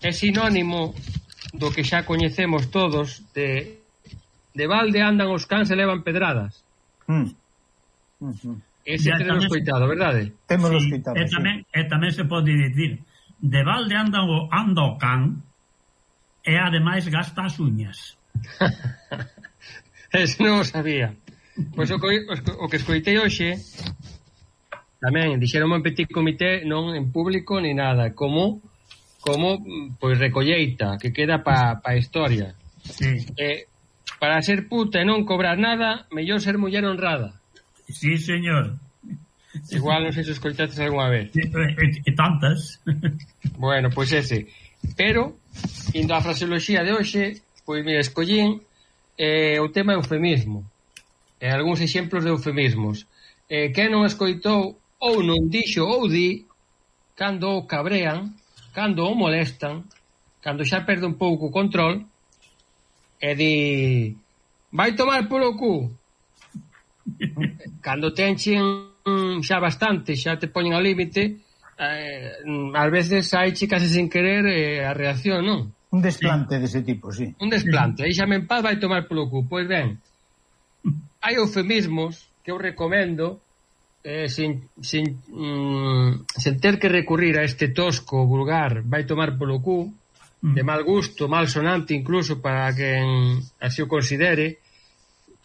é sinónimo do que xa coñecemos todos de, de balde andan os cans e levan pedradas. Mm. Mm-hmm. Ese tenemos coitado, verdade? Temos sí, coitado, e tamén, sí. E tamén se pode dicir de balde anda o, anda o can e ademais gasta as uñas. Eso non o sabía. Pois o, o que escoitei hoxe tamén dixeron en petit comité, non en público ni nada, como como pois recolleita que queda pa, pa historia. Sí. Eh, para ser puta e non cobrar nada, mellor ser muller honrada. Sí, señor. Igual non sei se escoitaste algunha vez. E, e, e tantas. Bueno, pois ese. Pero, indo á fraseoloxía de hoxe, pois mira, escollín eh, o tema eufemismo. E algúns exemplos de eufemismos. Eh, quen non escoitou ou non dixo ou di cando o cabrean, cando o molestan, cando xa perde un pouco o control, e di vai tomar polo cu. Cando te enchen xa bastante, xa te poñen ao límite, eh, ás veces hai chicas sin querer eh, a reacción, non? Un desplante sí. dese tipo, sí. Un desplante, aí xa me en paz vai tomar polo cu. Pois ben, hai eufemismos que eu recomendo eh, sin, sin, mm, sin ter que recurrir a este tosco vulgar vai tomar polo cu, de mal gusto, mal sonante incluso para quen así o considere.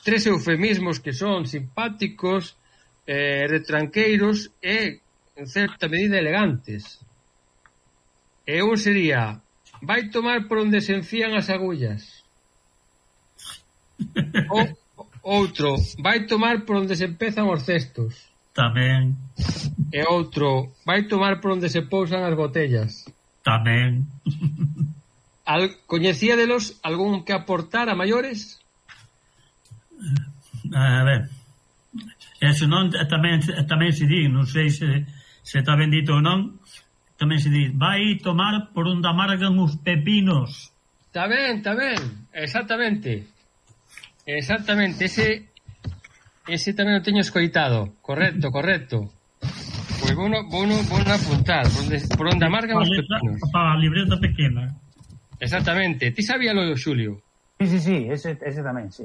Tres eufemismos que son simpáticos, eh, retranqueiros e, en certa medida, elegantes. E un sería: vai tomar por onde se enfían as agullas. O, outro: vai tomar por onde se empezan os cestos. Tamén. E outro: vai tomar por onde se pousan as botellas. Tamén. Al, coñecíadelos algún que aportar a maiores? A ver, eso non tamén, tamén se di, non sei se, se está ben dito ou non, tamén se di, vai tomar por onde amargan os pepinos. Está ben, está ben, exactamente, exactamente, ese ese tamén o teño escoitado, correcto, correcto. Pois vou no, vou no, vou no apuntar, por onde, por onde amargan os pepinos. Para a libreta pequena. Exactamente, ti sabíalo, Xulio? Sí, sí, sí, ese, ese tamén, sí.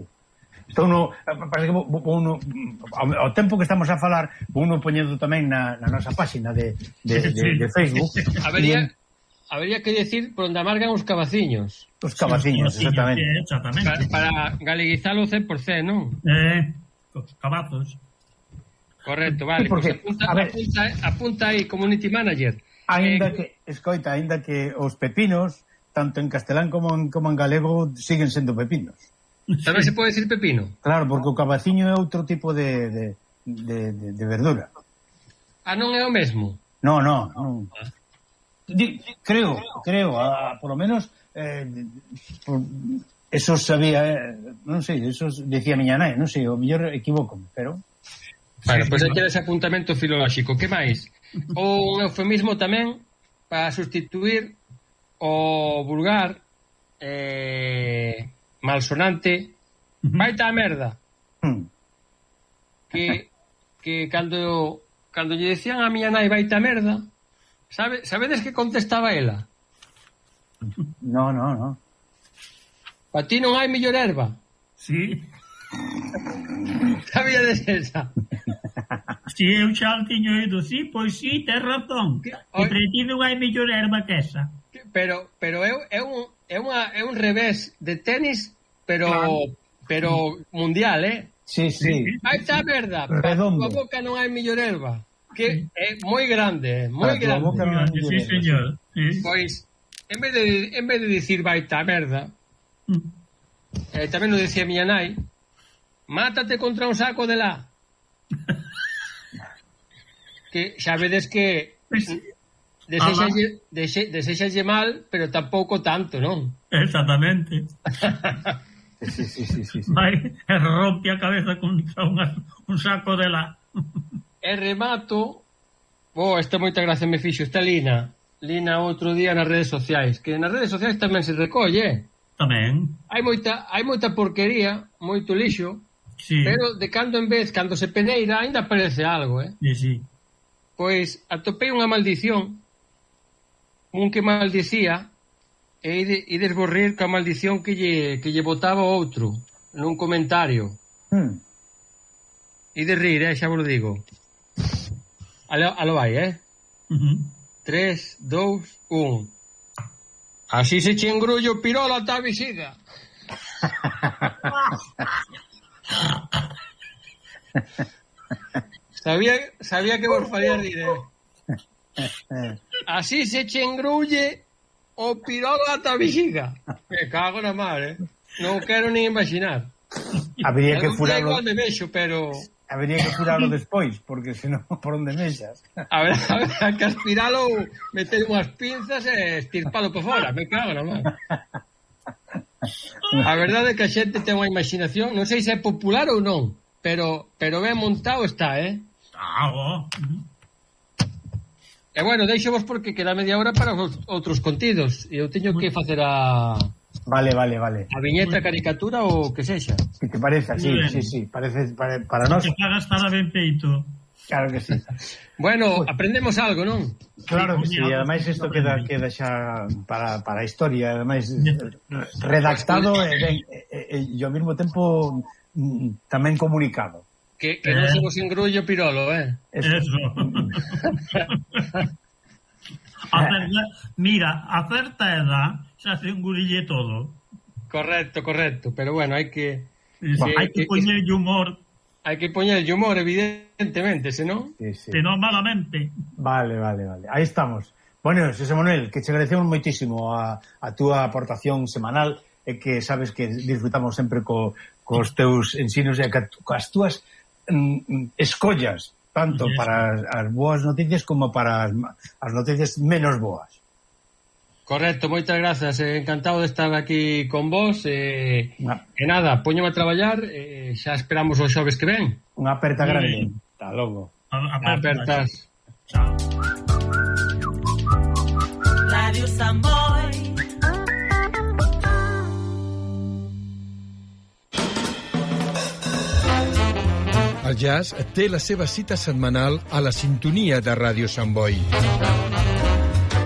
Então, no, parece que uno, ao tempo que estamos a falar, uno poñendo tamén na, na nosa páxina de, de, de, de Facebook. Habería, habería que decir por onde amargan os cavaciños. Os cavaciños, sí, exactamente. Sí, exactamente. Para, para galeguizalo cen por cento, non? Eh, os cavazos. Correcto, vale. Sí, porque, pues apunta, ver, apunta, apunta aí, community manager. Ainda eh, que, escoita, ainda que os pepinos, tanto en castelán como en, como en galego, siguen sendo pepinos. Tamén se pode decir pepino? Claro, porque o cavaciño é outro tipo de, de, de, de, de verdura. Ah, non é o mesmo? No, no, non. Di, creo, creo, a, por lo menos eh, por, eso sabía, eh, non sei, eso decía miña nai, non sei, o mellor equivoco, pero... Bueno, pois pues aquí ese apuntamento filolóxico. Que máis? O un eufemismo tamén para sustituir o vulgar eh... malsonante, uh-huh. Vaita a merda. Uh-huh. Que que cando cando lle decían a miña nai vaita a merda, sabe, sabedes que contestaba ela? No, no, no. Pa ti non hai mellor erva. Sí. Sabíades esa? Si eu xa tiño ido, sí, pois sí, tes razón. Que para ti non hai mellor erva que esa. Pero pero é, é un é unha é un revés de tenis, pero claro. Pero mundial, eh? Sí, sí. Aí está a verda. Redondo. A boca non hai mellor erva. Que é moi grande, eh? moi grande. Boca non hai mellor sí, señor. Sí. Pois en vez de en vez de dicir vai está a verda, mm. eh, tamén lo decía miña nai, mátate contra un saco de la. Que xa vedes que Desexalle, dexe, desexalle mal, pero tampouco tanto, non? Exactamente. Sí, sí, sí, sí, sí. Vai, rompe a cabeza contra unha, un saco de la. E remato. Oh, esta moita gracia me fixo. Está Lina. Lina outro día nas redes sociais. Que nas redes sociais tamén se recolle. Tamén. Hai moita, hai moita porquería, moito lixo. Sí. Pero de cando en vez, cando se peneira, ainda aparece algo, eh? Sí, sí. Pois atopei unha maldición. Un que maldicía e ides borrir ca maldición que lle, que lle botaba outro nun comentario. Hmm. Ides rir, eh, xa vos lo digo. Alo, alo vai, eh? Uh-huh. tres, dous, un. Así se che engrullo pirola ta visida. Sabía, sabía que vos faría rir, eh? Así se che engrulle o pirola ata vixiga. Me cago na mar, eh? Non quero nin imaginar. Habría que furarlo. Igual me vexo, pero... Habría que furarlo despois, porque senón por onde mexas. A ver, a ver, a que aspiralo, meter unhas pinzas e estirpalo por fora. Me cago na mar. A verdade é que a xente ten unha imaginación, non sei se é popular ou non, pero pero ben montado está, eh? Ah, oh. E bueno, deixo vos porque queda media hora para os outros contidos e eu teño que facer a... Vale, vale, vale. A viñeta, caricatura ou que sexa. Que te pareza, sí, sí, sí, parece para, para nós. Que pagas para ben feito. Claro que sí. Bueno, aprendemos algo, non? Claro que sí, ademais isto queda queda xa para, para a historia, ademais redactado e, ben, e, e, e ao mesmo tempo tamén comunicado. Que, que non somos engrullo pirolo, eh? Eso. A certa, mira, a certa edad xa se engurille todo. Correcto, correcto, pero bueno, hai que... Sí, hai que, que poñer humor. Hai que poñer humor, evidentemente, senón... Sí, sí. Senón malamente. Vale, vale, vale. Aí estamos. Bueno, Xosé Manuel, que te agradecemos moitísimo a, a túa aportación semanal e que sabes que disfrutamos sempre co, cos teus ensinos e as túas mm, escollas, tanto yes. para as boas noticias como para as, as noticias menos boas. Correcto, moitas grazas, eh, encantado de estar aquí con vos e, eh, e nada, poñome a traballar e eh, xa esperamos os xoves que ven. Unha aperta grande. Hasta logo. Apertas. Chao. Radio Samboy. El jazz té la seva cita setmanal a la sintonia de Ràdio Sant Boi.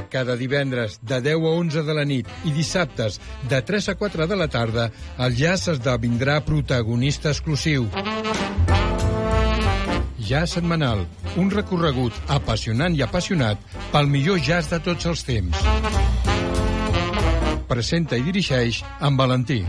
Cada divendres de deu a onze de la nit i dissabtes de tres a quatre de la tarda, el jazz esdevindrà protagonista exclusiu. Jazz setmanal, un recorregut apassionant i apassionat pel millor jazz de tots els temps. Presenta i dirigeix en Valentí.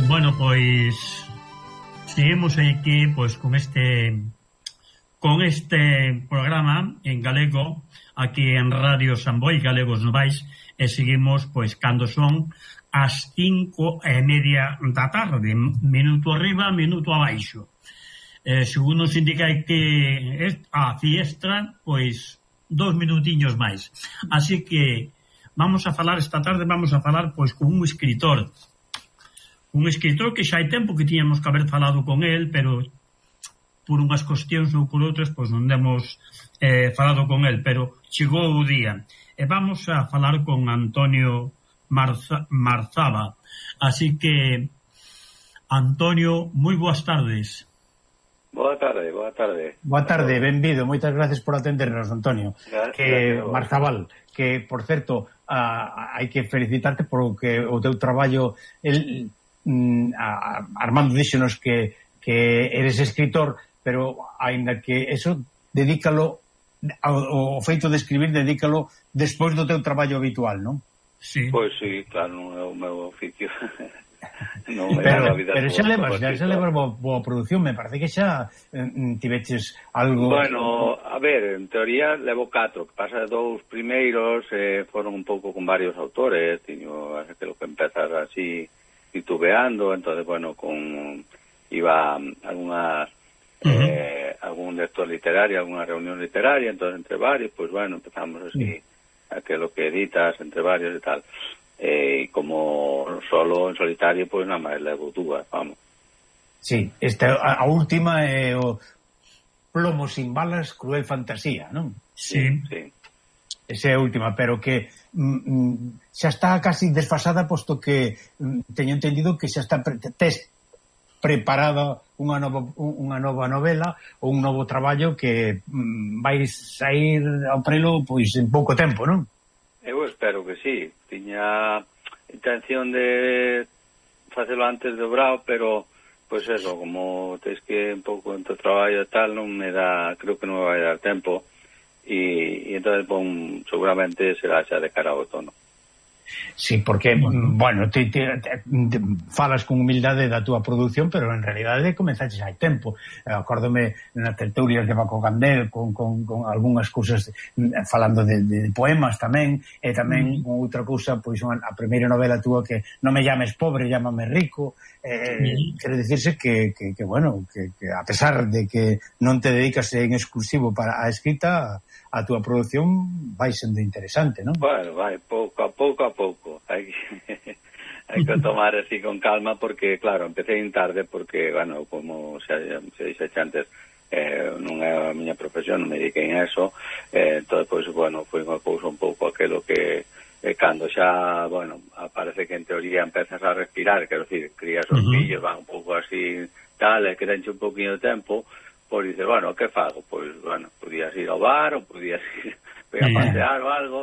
Bueno, pois seguimos aquí pois con este con este programa en galego aquí en Radio Samboy, Galegos Novais, e seguimos pois cando son as cinco e media da tarde, minuto arriba, minuto abaixo. Eh, según nos indica que a fiestra, pois dos minutiños máis. Así que vamos a falar esta tarde, vamos a falar pois con un escritor. Un escritor que xa hai tempo que tiñamos que haber falado con el, pero por unhas cuestións ou por outras, pois non demos eh, falado con el, pero chegou o día. E vamos a falar con Antonio Marza, Marzaba. Así que, Antonio, moi boas tardes. Boa tarde, boa tarde. Boa tarde, benvido. Moitas gracias por atendernos, Antonio. Gracias, que gracias, Marzabal, que, por certo, a, hai que felicitarte porque o teu traballo... El, A, a, Armando díxonos que, que eres escritor, pero aínda que eso dedícalo ao, ao feito de escribir, dedícalo despois do teu traballo habitual, non? Sí. Pois sí, claro, non é o meu oficio. Non é pero, a vida pero xa levas, xa, xa levas boa, boa produción, me parece que xa eh, tiveches algo... Bueno, a ver, en teoría levo catro, que pasa dous primeiros eh, foron un pouco con varios autores, tiño que lo que empezar así titubeando, entonces bueno, con iba alguna uh-huh. eh, algún lector literario, alguna reunión literaria, entonces entre varios, pues bueno, empezamos así uh-huh. a que lo que editas entre varios y tal, eh, y como solo en solitario, pues nada más levo dúas, vamos. Sí, esta a, a última é o Plomo sin balas, cruel fantasía, non? Sí, sí. Esa é a última, pero que mm, xa está casi desfasada, posto que mm, teño entendido que xa está pre tes preparada unha nova, unha nova novela ou un novo traballo que mm, vai sair ao prelo pois en pouco tempo, non? Eu espero que sí. Tiña intención de facelo antes de obrao, pero pois eso, como tens que un pouco en teu traballo e tal, non me dá, creo que non me vai dar tempo. Y, y entonces bon, seguramente será xa de cara ao outono. Sí, porque, bueno, te, te, te, te falas con humildade da túa produción, pero en realidade comenzaches hai tempo. Eh, acórdome nas tertulias de Paco Candel con, con, con algunhas cousas falando de, de poemas tamén, e tamén con outra cousa, pois unha, a primeira novela túa que non me llames pobre, llámame rico. Eh, mm. Quero dicirse que, que, que bueno, que, que a pesar de que non te dedicas en exclusivo para a escrita, a túa produción vai sendo interesante, non? Bueno, vai, pouco a pouco a pouco. Hai que, hai que tomar así con calma porque, claro, empecé en tarde porque, bueno, como se, se dixe antes, eh, non é a miña profesión, non me dediquei a eso, eh, entón, pois, bueno, foi unha cousa un pouco aquelo que eh, cando xa, bueno, parece que en teoría empezas a respirar, quero dicir, crías os uh-huh. fillos, van un pouco así, tal, e que tenche un pouquinho de tempo, pois dice, bueno, que fago? Pois, bueno, podías ir ao bar ou podías ir a pasear ou algo.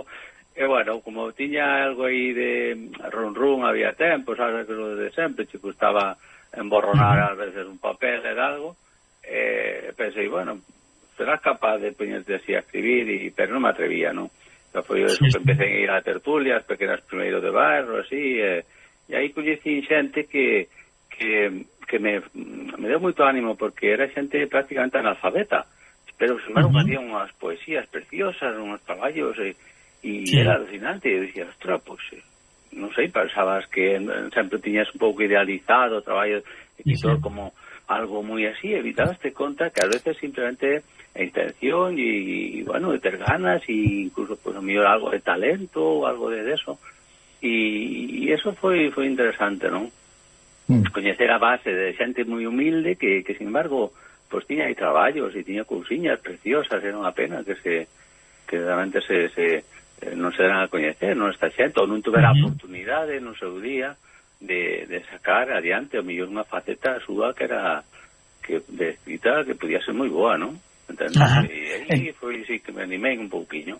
E, bueno, como tiña algo aí de run run, había tempo, sabes, que lo de sempre, che gustaba emborronar uh-huh. a veces un papel e algo, e pensei, bueno, serás capaz de poñerte así a escribir, e, pero non me atrevía, non? Xa foi eso que empecé a ir a tertulias, pequenas primeiros de barro, así, e, e aí coñecí xente que que que me, me deu moito ánimo porque era xente prácticamente analfabeta, pero sin embargo uh-huh. hacía unhas poesías preciosas, unhos traballos e, e sí. era alucinante, e eu dicía, ostra, pois pues, non sei, pensabas que sempre tiñas un pouco idealizado o traballo de escritor sí. como algo moi así, evitaste conta que a veces simplemente a intención e, e bueno, de ter ganas e incluso pues a mellor algo de talento ou algo de eso, e, e eso foi foi interesante, non? Coñecer a base de xente moi humilde que, que sin embargo, pues tiña aí traballos e tiña cousiñas preciosas, era unha pena que se que realmente se, se eh, non se deran a coñecer, non esta xente, ou non tuvera uh-huh. oportunidade no seu día de, de sacar adiante o mellor unha faceta súa que era que de escrita que podía ser moi boa, non? Entende? Uh-huh. E aí foi sí que me animei un pouquiño.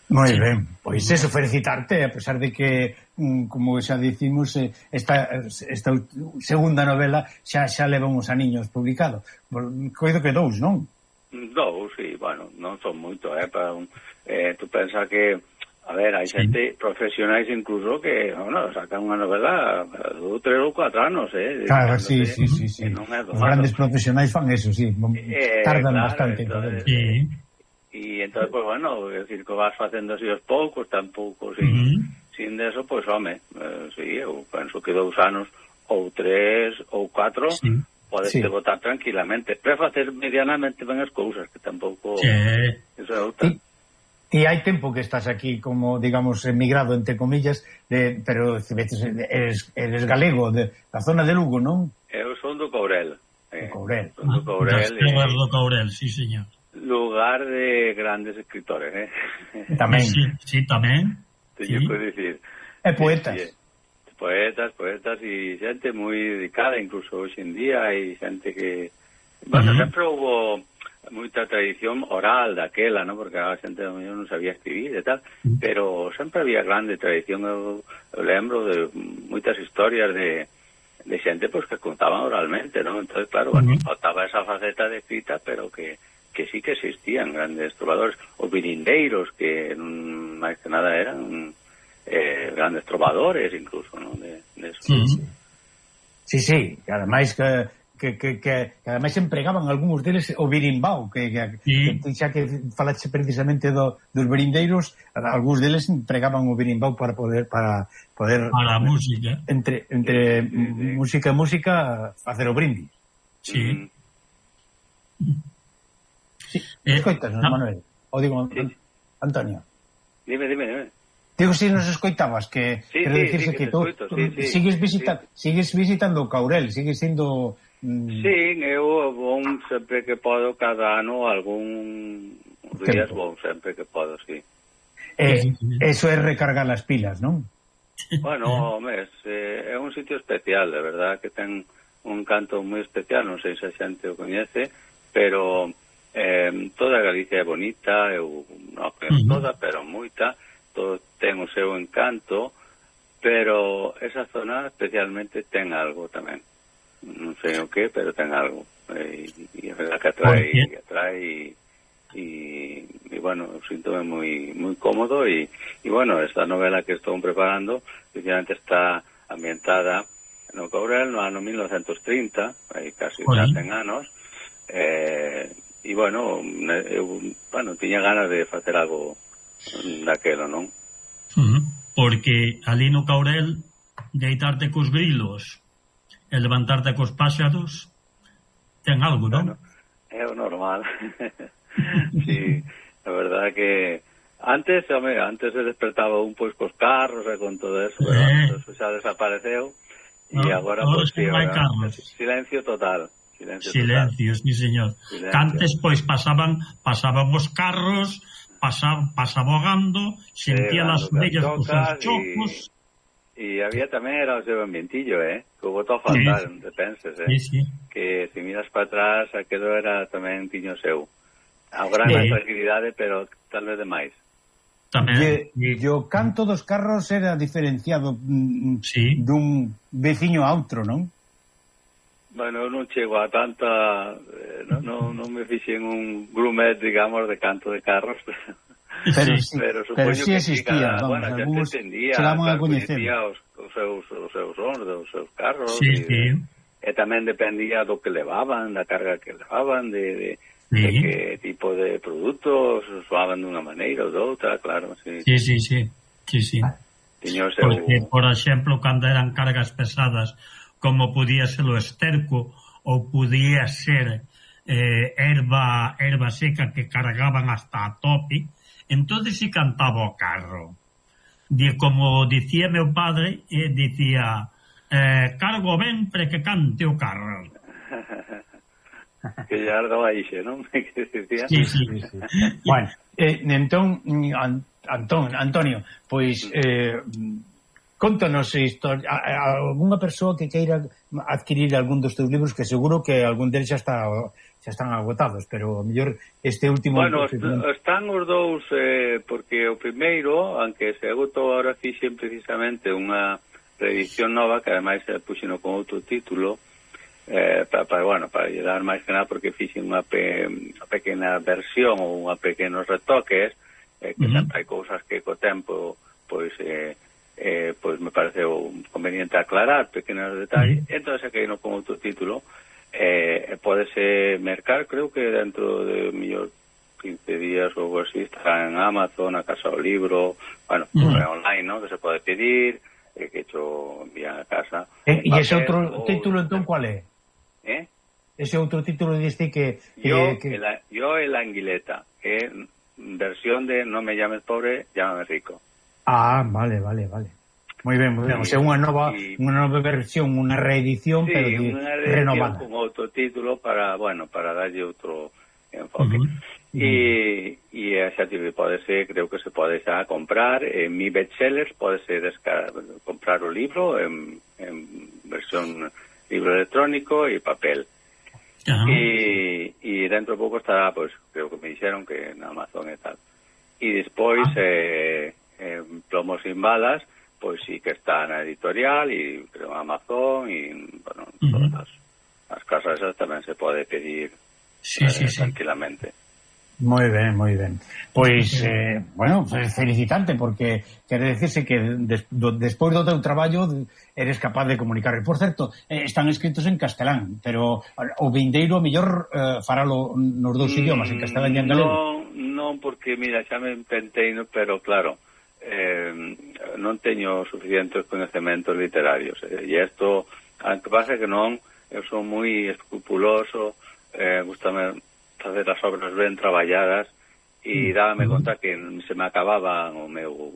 Moi ben, pois eso, felicitarte, a pesar de que, como xa dicimos, esta, esta segunda novela xa xa leva uns aniños publicado. Coido que dous, non? Dous, sí, bueno, non son moito, eh, para un, eh, tú pensa que, a ver, hai sí. xente profesionais incluso que, bueno, sacan unha novela dous, tres ou cuatro anos, eh. Claro, sí, sí, sí, sí. Os grandes profesionais fan eso, sí, eh, tardan claro, bastante. Entonces, sí. E entón, pues, bueno, é dicir, que vas facendo así os poucos, tampouco sin, uh-huh. sin deso, pois, pues, home, eh, sí, eu penso que dous anos ou tres ou catro sí. podes sí. votar tranquilamente, pero facer medianamente ben as cousas, que tampouco sí. eso é outra. E hai tempo que estás aquí como, digamos, emigrado, entre comillas, de, pero eres, eres galego, de, da zona de Lugo, non? Eu son do Courel. Eh, do Courel. Son do Courel. Das terras do Courel, sí, señor. Lugar de grandes escritores, eh? Tamén. Sí, sí, tamén. Teño sí. que dicir. E poetas. Sí, sí. Poetas, poetas e xente moi dedicada, incluso hoxe en día, hai xente que... Bueno, uh-huh. sempre houve moita tradición oral daquela, ¿no? Porque a xente non sabía escribir e tal, uh-huh. pero sempre había grande tradición. Eu, eu lembro de moitas historias de, de xente pues, que contaban oralmente, ¿no? Entonces, claro, uh-huh. bueno, faltaba esa faceta de escrita, pero que que sí que existían grandes trovadores, os virindeiros, que non máis que nada eran eh, grandes trovadores, incluso, ¿no? De, de eso. Sí, sí, sí, sí. Que ademais que, que, que, que, que ademais empregaban algúns deles o birimbao, que, que, sí. que xa que falaxe precisamente do, dos virindeiros, algúns deles empregaban o birimbao para poder para poder para a música entre entre sí, sí, sí. música e música facer o brindis. Sí. Mm. Sí, eh, escoitas-nos, no. Manuel. O digo, sí. Antonio. Dime, dime, dime. Digo, si nos escoitabas, que sí, quero sí, dicirse sí, que, que tú, escoito, tú sí, sí, sigues, visita, sí. sigues visitando o Courel, sigues sendo... Mm... Sí, eu vou sempre que podo, cada ano, algún días vou sempre que podo, sí. Eh, eso é recargar as pilas, non? Bueno, home, é, é un sitio especial, de verdad, que ten un canto moi especial, non sei se a xente o coñece, pero... Eh, toda Galicia é bonita, eu non conheço toda, pero moita, todo ten o seu encanto, pero esa zona especialmente ten algo tamén, non sei o que, pero ten algo, e, e é verdad que atrae, e atrae e, e, bueno, síntome moi moi cómodo e, e bueno, esta novela que estou preparando, precisamente está ambientada no Courel no ano mil novecentos trinta, hai casi cen anos, eh, e bueno, eu, bueno, tiña ganas de facer algo daquelo, non? Uh-huh. Porque ali no Courel deitarte cos grilos e levantarte cos páxaros ten algo, non? Bueno, é o normal. Sí, a verdade que antes, home, antes se despertaba un pois cos carros e con todo eso, pero eh. eso xa desapareceu e no, agora pois sí, silencio total. Silencio, silencio, sí, señor. Silencio. Antes pois pasaban pasaban os carros, pasaba pasabogando, sentía sí, as vellas cos seus chocos. E había tamén era o seu ambientillo, eh? Que botou a faltar, sí, te penses, eh? Sí, sí. Que se miras para atrás, aquilo era tamén tiño seu. Agora máis sí. Tranquilidade, pero tal vez demais. Tamén. E o canto dos carros era diferenciado mm, sí. dun veciño a outro, non? Bueno, non chego a tanta... Eh, non, non, non me fixen un grumet, digamos, de canto de carros, pero, sí, pero, pero sí existía, que, vamos, bueno, algúns entendía, chegaban a coñecer os, os seus os seus sons, dos seus carros, sí, e, sí. e tamén dependía do que levaban, da carga que levaban, de, de, sí. de que tipo de produtos soaban dunha maneira ou doutra, claro, sí. Sí, sí, sí, sí, sí. Tiño o seu... Porque, por exemplo, cando eran cargas pesadas, como podía ser o esterco ou podía ser eh, erva, erva seca que cargaban hasta a tope, entonces si cantaba o carro. De, como dicía meu padre, eh, dicía eh, cargo ben pre que cante o carro. Que ya ardaba ixe, non? Sí, sí, sí. Bueno, eh, entón, Antón, Antonio, pois eh, contanos historia, algunha persoa que queira adquirir algún dos teus libros, que seguro que algún deles xa está xa están agotados, pero a mellor este último... Bueno, están os dous, eh, porque o primeiro, aunque se agotou, ahora fixen precisamente unha reedición nova, que ademais se puxeno con outro título, eh, para, para, bueno, para llegar máis que nada, porque fixen unha, pe, unha pequena versión ou unha pequenos retoques, eh, que uh-huh. sempre hai cousas que co tempo, pois... Eh, Eh, pois me pareceu conveniente aclarar pequenos detalles, uh-huh. entón se caíno con outro título, eh, podese mercar, creo que dentro de mellor quince días ou algo así, está en Amazon, a Casa do Libro, bueno, uh-huh. online, ¿no? Que se pode pedir, eh, que hecho envían a casa. Eh, e ese outro o... título, entón, cual é? Eh? Ese outro título diste que... Yo, que... El, yo el Anguileta, que é versión de No me llames pobre, llámame rico. Ah, vale, vale, vale. Moi ben, moi ben. O sea, unha nova, sí. unha nova versión, unha reedición, sí, pero de, unha reedición renovada. Con outro título para, bueno, para darlle outro enfoque. Uh-huh. E, e xa te podese, creo que se pode xa comprar en Mi Bestsellers, podese descargar, comprar o libro en, en versión libro electrónico e papel. Uh-huh. E, e dentro de pouco estará, pues, creo que me dixeron que en Amazon e tal. E despois, uh-huh. eh, eh, Plomos sin balas, pois sí que está na editorial e creo Amazon e, bueno, uh-huh. todas as, as casas esas tamén se pode pedir sí, eh, sí, sí. tranquilamente. Moi ben, moi ben. Pois, eh, bueno, felicitante, porque quere decirse que des, do, despois do teu traballo eres capaz de comunicar. Por certo, eh, están escritos en castelán, pero o vindeiro mellor eh, faralo nos dous mm, idiomas, en castelán e en galego. Non, non, porque, mira, xa me pentei, pero claro, eh, non teño suficientes conhecementos literarios. Eh, e isto, aunque pasa que non, eu son moi escrupuloso, eh, gustame facer as obras ben traballadas e dábame conta que se me acababa o meu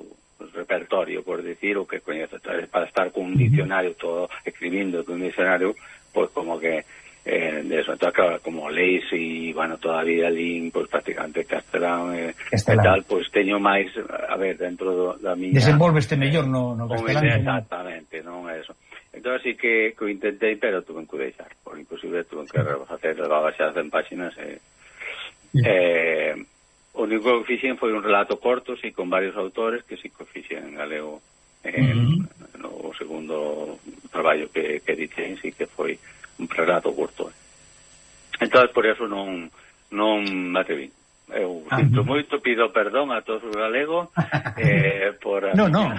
repertorio, por decir, o que coñezo, para estar con un diccionario todo, escribindo con un diccionario, pois pues como que eh, de eso, entonces claro, como leis e, bueno, todavía lín, pois pues, prácticamente castelán e eh, tal, pois pues, teño máis, a ver, dentro do, da miña... Desenvolveste mellor no, no castelán. Exactamente, non é eso. Entón, sí que, que o intentei, pero tuve que deixar, por inclusive tuve que facer baixar cen páxinas e... Eh, o único que fixen foi un relato corto, sí, con varios autores, que sí que fixen en galego eh, uh-huh. no segundo traballo que, que dixen, sí que foi un relato curto. Entón, por eso non non me atreví. eu sinto moito, pido perdón a todos os galegos eh, por a no, no.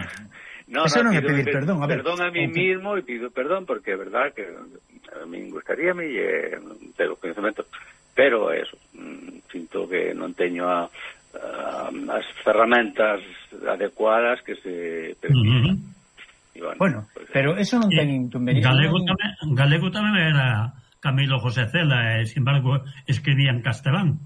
No, Eso no, non é pido, pedir perdón, a ver. Perdón a mí mismo e pido perdón porque é verdad que a mí gustaría me eh, ter o conhecimento, pero eso, sinto que non teño a, a, as ferramentas adecuadas que se precisan. Uh-huh. Bueno, bueno pues, pero eso non ten inconveniente. Galego tamén, Galego tamén era Camilo José Cela, e, sin embargo, escribía en castelán.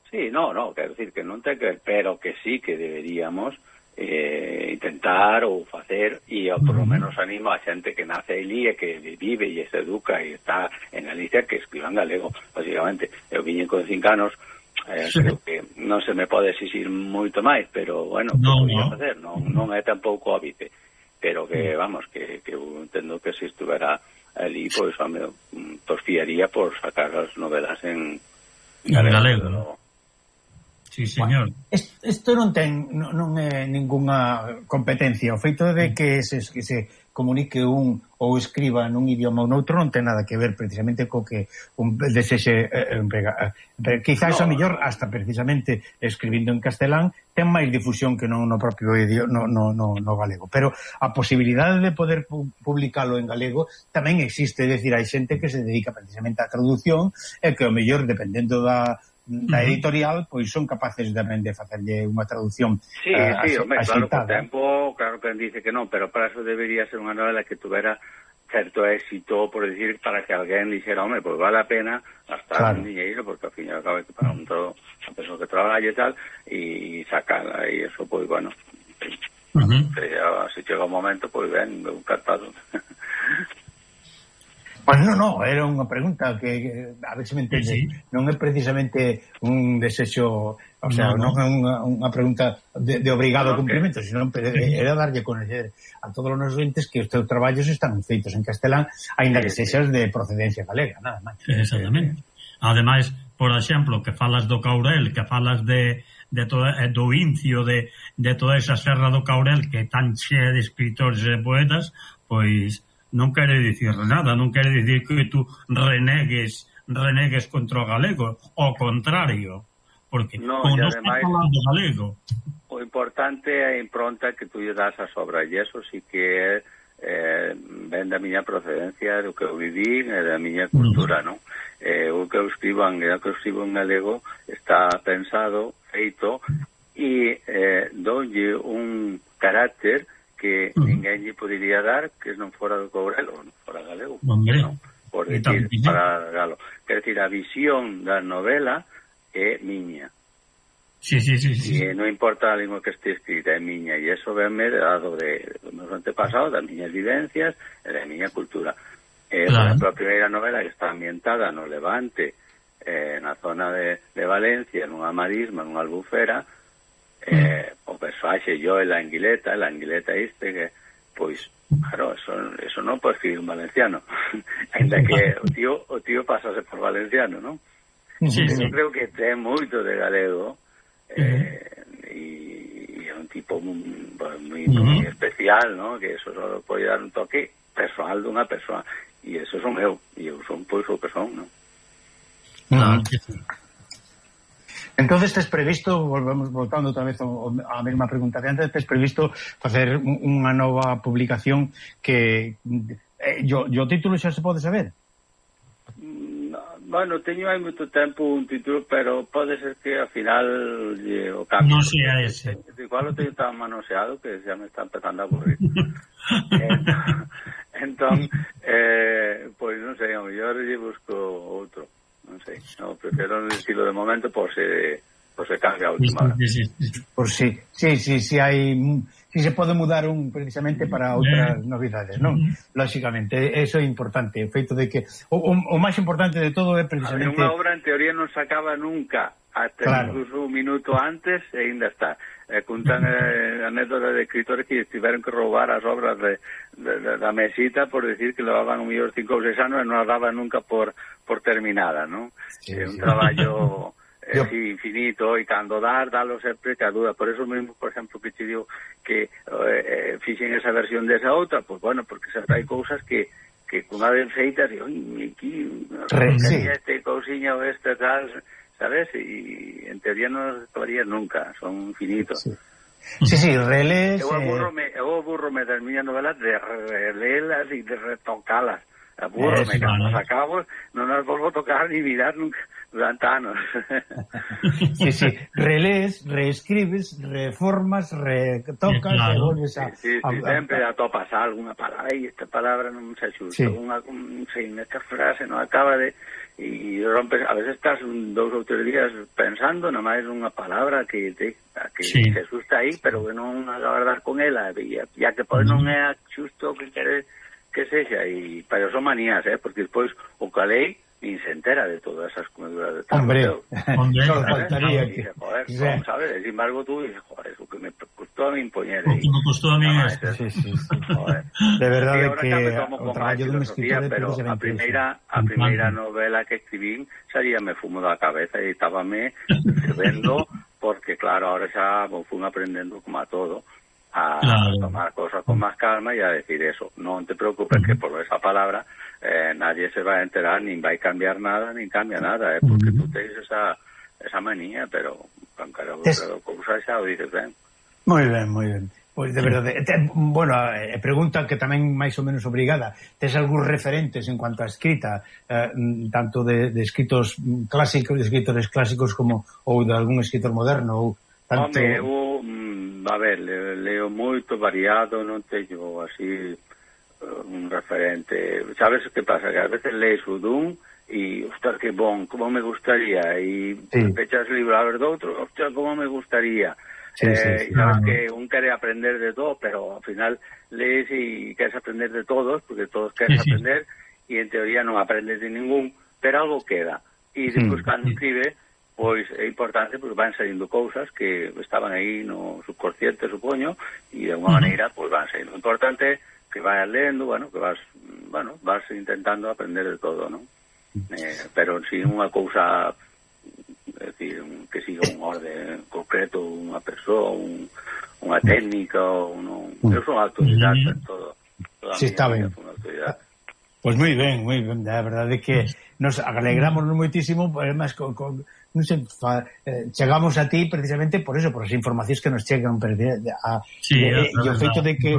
Sí, no, no, quero decir que non ten que ver, pero que sí que deberíamos eh, intentar ou facer, e eu por lo menos animo a xente que nace ali e que vive e se educa e está en Galicia que escriban galego, básicamente. Eu viñen con cinco anos, eh, sí. Creo que non se me pode exixir moito máis, pero bueno, no, que podía no. facer, non, non é tampouco óbvio, pero que, vamos, que, que eu entendo que se estuvera ali, pois, pues, me torfiaría por sacar as novelas en galego. galego. No. Sí, señor. Isto non ten non, non é ningunha competencia. O feito de que se, que se comunique un ou escriba nun idioma ou noutro non ten nada que ver precisamente co que un desexe eh, emprega. Eh, quizás no, a mellor hasta precisamente escribindo en castelán ten máis difusión que non no propio idioma no, no, no, no galego. Pero a posibilidade de poder pu publicalo en galego tamén existe, é dicir, hai xente que se dedica precisamente á traducción e que o mellor dependendo da da editorial, pois son capaces tamén de facerlle unha traducción. Sí, uh, sí, hombre, claro, con tempo, claro que dice que non, pero para eso debería ser unha novela que tuvera certo éxito, por decir, para que alguén dixera, hombre, pois vale a pena gastar claro. un dinheiro, porque ao fin e ao cabo hai que pagar un todo a persoa que traballe e tal, e sacala, e eso, pois, bueno, uh-huh. se, se chega un momento, pois ben, un cartado. Pues no, no, era unha pregunta que, que a ver se me entende, sí, sí. Non é precisamente un desexo, o sea, no, no. non é unha, unha pregunta de, de obrigado no, cumprimento, okay. Sino era darlle conocer a todos os nosos entes que os teus traballos están feitos en castelán, aínda que sexas de procedencia galega, nada máis. Exactamente. Ademais, por exemplo, que falas do Caurel, que falas de de todo, do Incio, de, de toda esa serra do Caurel que tan chea de escritores e poetas, pois non quere dicir nada, non quere dicir que tú renegues renegues contra o galego, ao contrario, porque no, como non estás falando galego. O importante é a impronta que tú lle das as obras, e eso sí que é eh, ven da miña procedencia, do que eu viví e da miña cultura, non? Eh, o que eu escribo en, o que eu escribo en galego está pensado, feito, e eh, doulle un carácter que uh-huh. ninguén lle podería dar que non fora do Caurel ou non fora galego, non? Por decir, para galo. Quer decir, a visión da novela é miña. Sí, sí, sí, sí. E non importa a lingua que este escrita, é miña, e eso venme dado de, de meus antepasados, das miñas vivencias e da miña cultura. Eh, claro. Por exemplo, a primeira novela que está ambientada no Levante, eh, na zona de, de Valencia, nunha marisma, nunha albufera, eh, o persoaxe yo e la Anguileta, la Anguileta este que, pois, claro, eso, eso non pode escribir un valenciano, ainda que o tío, o tío pasase por valenciano, non? Sí, sí. Eu creo que ten moito de galego, eh, e é un tipo moi, moi, moi especial, non? Que eso só pode dar un toque personal dunha persoa, e eso son eu, e eu son pois o que son, non? Ah, que sí. Entonces tes previsto, volvemos voltando outra vez á mesma pregunta de antes, tes previsto facer unha nova publicación que eh, yo, yo título xa se pode saber? No, bueno, teño hai moito tempo un título, pero pode ser que ao final eh, o cambio. Non sea ese. Igual o teño tan manoseado que xa me está empezando a aburrir. entón, eh, pois non sei, ao mellor lle busco outro. Non sei, no, prefiero un estilo de momento por se, por se cambia a última hora. Por si, sí, sí, sí, hai, si se pode mudar un precisamente para outras novidades, non? Lógicamente, eso é importante, o feito de que o, o, o máis importante de todo é precisamente... Unha obra en teoría non se acaba nunca, até claro. Incluso un minuto antes e ainda está. Eh, contan eh, anécdotas de escritores que tiveron que roubar as obras de, de, de, da mesita por decir que levaban un millón cinco ou seis anos e non as daban nunca por, por terminada, non? Sí, é un sí. traballo eh, sí, infinito, e cando dar, dalo sempre que a duda. Por eso mesmo, por exemplo, que te digo que eh, fixen esa versión desa outra, pues bueno, porque sempre hai cousas que que cunha vez feitas, e oi, aquí, Re, sí. este cousiña ou este tal, sabes? Y en teoría non os acabarías nunca, son infinitos. Sí, sí, sí, relés... Eu aburro-me, eu aburro-me das miñas novelas de relelas e de retocalas. Aburro-me, cando as acabo, non as volvo a tocar ni mirar nunca durante anos. Sí, sí, relés, reescribes, reformas, retocas, claro. E volves a... Sí, sí, sí, a, sempre a, atopas algunha palabra, e esta palabra non se axusta, sí. Unha, un, sei, nesta frase non acaba de... E rompes, a veces estás un, dous ou tres días pensando na máis unha palabra que te, que sí. se asusta aí, pero que non acabas dar con ela, e ya que pois non é xusto o que queres que sexa, e para son manías, eh, porque despois o calei nin se entera de todas esas comeduras de tal. Hombre, hombre, solo faltaría que... Dice, joder, ¿cómo sabes? Sin embargo, tú dices, joder, eso que me costó a mí impoñer. O que me costó a mí es... Sí, sí, sí. Joder. De verdade que o traballo dun escritor pero a primeira, a primeira novela que escribín salía me fumo da cabeza e estábame escribendo, porque claro, ahora xa fui aprendendo como a todo, a claro. tomar cosas con más calma y a decir eso, no te preocupes que por esa palabra eh, nadie se va a enterar, ni va a cambiar nada, ni cambia nada, eh, porque tú tienes esa, esa manía, pero con cada cousa xa o dices ben. Moi ben, moi ben. Pois de verdade, te, bueno, eh, pregunta que tamén máis ou menos obrigada, tes algúns referentes en cuanto a escrita, eh, tanto de, de escritos clásicos, de escritores clásicos como ou de algún escritor moderno ou tanto... Home, eu, mm, a ver, leo, leo moito variado, non teño así un referente. Sabes que pasa? Que a veces lees o dun e, ostras, que bon, como me gustaría, e sí. pechas o libro a ver do outro, ostras, como me gustaría. Sí, eh, sí, sí. Sabes que un quere aprender de todo, pero ao final lees e queres aprender de todos, porque todos queres sí, aprender, e sí. en teoría non aprendes de ningún, pero algo queda. E despois, sí. cando escribe, pois é importante, porque van saindo cousas que estaban aí no subconsciente, supoño, e de alguma uh -huh. maneira, pois van saindo. O importante que vayas lendo, bueno, que vas, bueno, vas intentando aprender de todo, ¿no? Eh, pero si unha cousa, é dicir, que siga un orden concreto, unha persoa, un, unha técnica, ou non... Eu son autodidacta en todo. Si, sí, está ben. Pois pues moi ben, moi ben, a verdade é que nos alegramos moitísimo, además, con, con, non sei, fa, eh, chegamos a ti precisamente por eso, por as informacións que nos chegan per de, de, a, sí, de, e o feito de que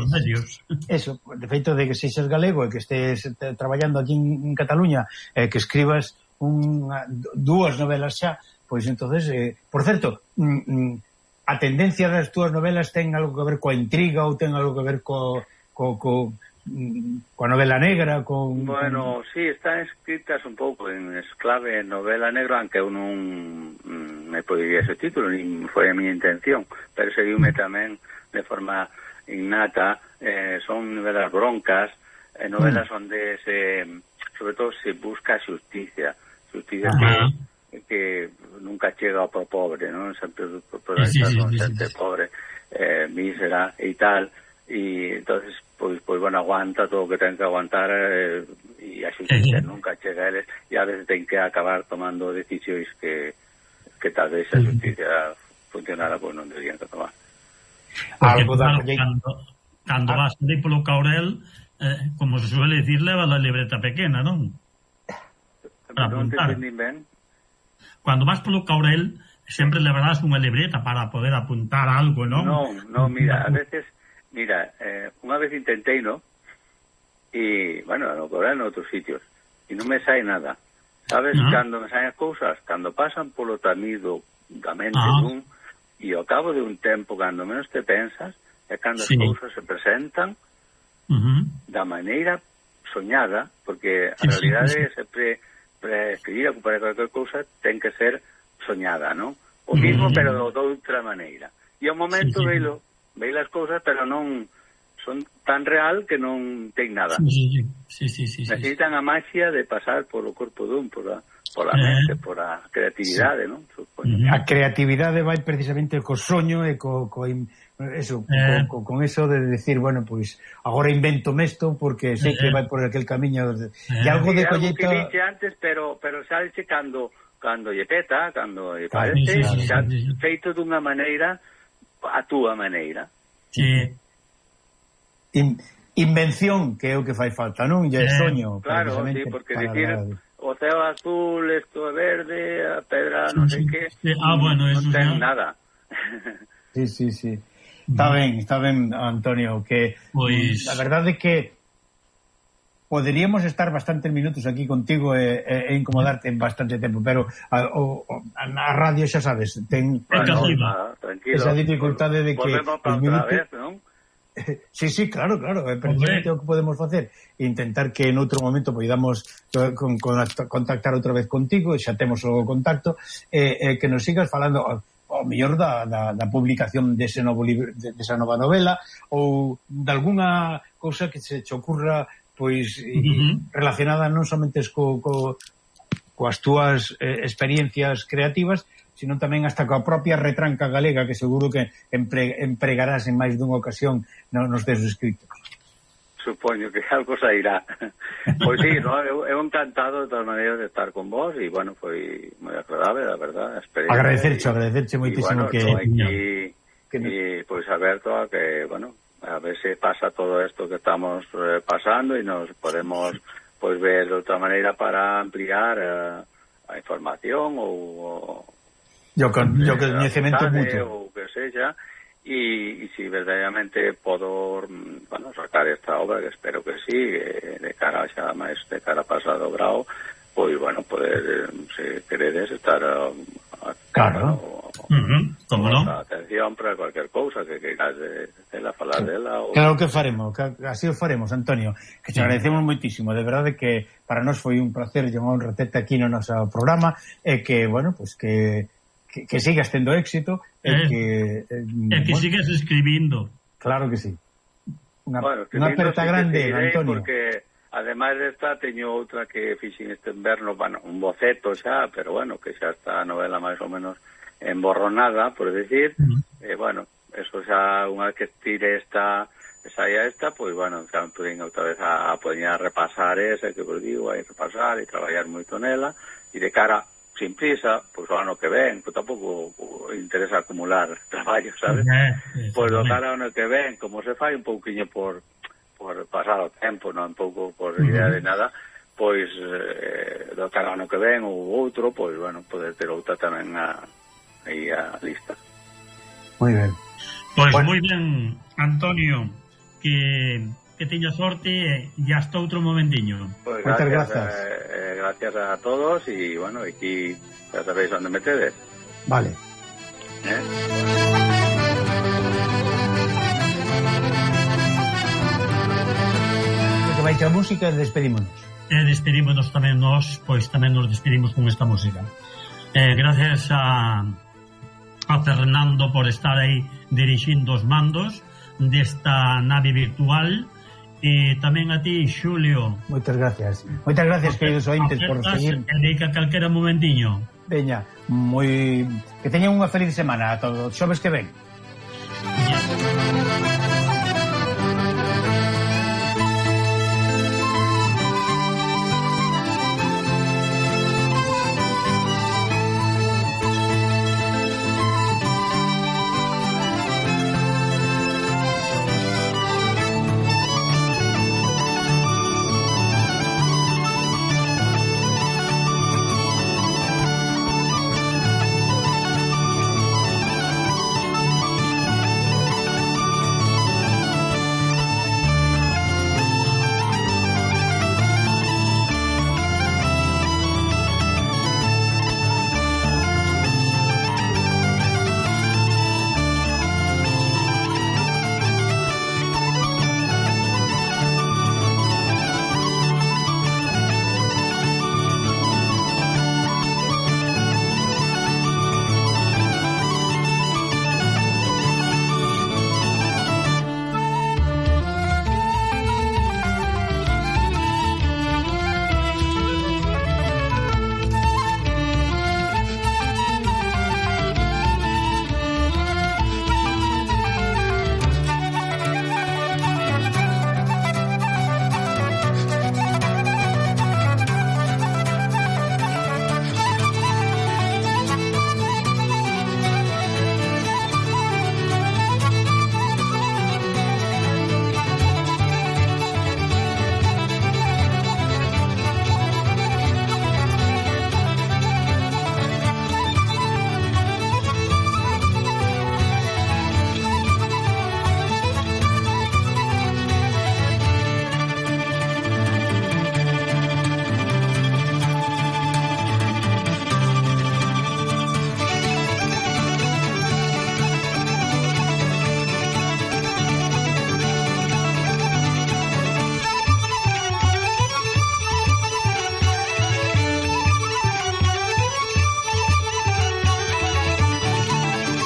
eso, de feito de que sexas galego e que estés traballando aquí en, en Cataluña, eh, que escribas unha, dúas novelas xa, pois entonces, eh, por certo, mm, mm, a tendencia das túas novelas ten algo que ver coa intriga ou ten algo que ver co, co, co coa novela negra, con... Bueno, con... sí, están escritas un pouco en esclave novela negra, aunque eu non me podiría ese título, ni foi a miña intención, pero seguiume tamén de forma innata, eh, son novelas broncas, eh, novelas mm. onde se, sobre todo se busca xusticia, xusticia que, que nunca chega ao pobre, non? Sempre protagonistas sí, sí, son sí, xente sí, sí. pobre, eh, mísera e tal, e entonces pois, pois bueno, aguanta todo o que ten que aguantar eh, e a xusticia nunca chega a eles e a veces ten que acabar tomando decisións que, que tal vez a xusticia funcionara, pois non deberían que tomar. Algo da... Cando, cando ah. vas ali polo Caurel, eh, como se suele decir, leva a libreta pequena, non? Para non te entendín ben. Cando vas polo Caurel, sempre levarás unha libreta para poder apuntar algo, non? Non, non, mira, a veces Mira, eh, unha vez intentei, ¿no? E, bueno, no Caurel en outros sitios, e non me sai nada. Sabes, uh -huh. cando me saen as cousas, cando pasan polo tamido da mente uh -huh. dun, e ao cabo de un tempo, cando menos te pensas, é cando sí. as cousas se presentan uh -huh. da maneira soñada, porque a sí, realidade sí, sí. sempre para escribir ou para cualquier cousa ten que ser soñada, ¿no? O mismo, uh -huh. pero de outra maneira. E ao momento sí, sí. veilo veis as cousas, pero non son tan real que non ten nada. Sí, sí, sí, sí, sí, necesitan sí. a maxia de pasar polo corpo dun, por a, por a mente, eh, por a creatividade, sí. non? Supoño. A creatividade vai precisamente co soño e co, co eso, eh. co, co, con eso de decir, bueno, pois pues, agora invento mesto porque sei eh. que vai por aquel camiño de, eh. e algo de colleita... Algo que dixe antes, pero, pero sabese cando, cando lle peta, cando lle parece, sí, sí, xa sí, sí. feito dunha maneira a túa maneira. Sí. In, invención, que é o que fai falta, non? E eh, soño. Claro, sí, porque decir, o ceo azul, esto é verde, a pedra non sei que, sí. Ah, bueno, non eso ten ya... nada. Sí, sí, sí. Está ben, está ben, Antonio, que pois... a verdade é que poderíamos estar bastantes minutos aquí contigo e, e, e incomodarte en bastante tempo, pero a, o, a radio, xa sabes, ten bueno, nada, esa dificultade de que volvemos para outra vez, non? Sí, sí, claro, claro, é precisamente o que podemos facer, intentar que en outro momento podamos con, con, contactar outra vez contigo, xa temos o contacto, e eh, eh, que nos sigas falando ao mellor da, da, da publicación dese novo libro, de, desa nova novela, ou de algunha cousa que se te ocurra pois uh-huh. relacionada non somente co, co, coas túas eh, experiencias creativas, sino tamén hasta coa propia retranca galega, que seguro que empre, empregarás en máis dunha ocasión nos teus escritos. Supoño que algo sairá. Pois sí, no, eu, eu encantado de todas maneiras de estar con vos, e bueno, foi moi agradable, la verdad. Agradecerche, agradecerche moitísimo bueno, que... aquí, que no... e pois aberto a que, bueno, a ver se pasa todo esto que estamos eh, pasando e nos podemos pois ver de outra maneira para ampliar eh, a información ou... Yo con yo que coñecemento mutuo ou que sexa, e, e si verdadeiramente podo, bueno, sacar esta obra, que espero que sí, eh, de cara xa máis de cara pasado grau, pois, bueno, poder, se queredes, estar a, a claro, o, uh-huh. Como non? Atención para cualquier cousa que queiras de, de la falar dela. Ou... Claro que faremos, que así o faremos, Antonio, que te agradecemos moitísimo, de verdade que para nós foi un placer e unha honra terte aquí no noso programa, e que, bueno, pues que Que, que sigas tendo éxito e eh, que eh, e que bueno, sigas escribindo. Claro que sí. Unha bueno, unha aperta grande, Antonio. Porque ademais desta teño outra que fixen este inverno, bueno, un boceto xa, pero bueno, que xa está a novela máis ou menos emborronada, por decir, uh-huh. eh, bueno, eso xa unha que tire esta esa ya esta, pois pues, bueno, xa me puden outra vez a, a poder a repasar esa que vos digo, a repasar e traballar moito nela, e de cara sin prisa, pois o ano que ven, pois tampouco interesa acumular traballo, sabes? Eh, pois do cara ao ano que ven, como se fai un pouquiño por por pasar o tempo, non un pouco por uh-huh. idea de nada, pois eh, do cara ao ano que ven ou outro, pois bueno, poder ter outra tamén a, aí a lista. Moi ben. Pois bueno. Moi ben, Antonio, que que teña sorte e hasta outro momentiño. Pues Muchas gracias. Eh, eh, gracias a todos y bueno, aquí ya sabéis dónde me tedes. Vale. ¿Eh? Que vai a música e despedímonos. E despedímonos tamén nós, pois tamén nos despedimos con esta música. Eh, gracias a a Fernando por estar aí dirixindo os mandos desta nave virtual. E tamén a ti, Xulio. Moitas gracias. Moitas gracias, queridos ointes, por seguir. Dedica calquera momentiño. Veña, moi... Que teñan unha feliz semana a todos. Xoves que ven. Yeah.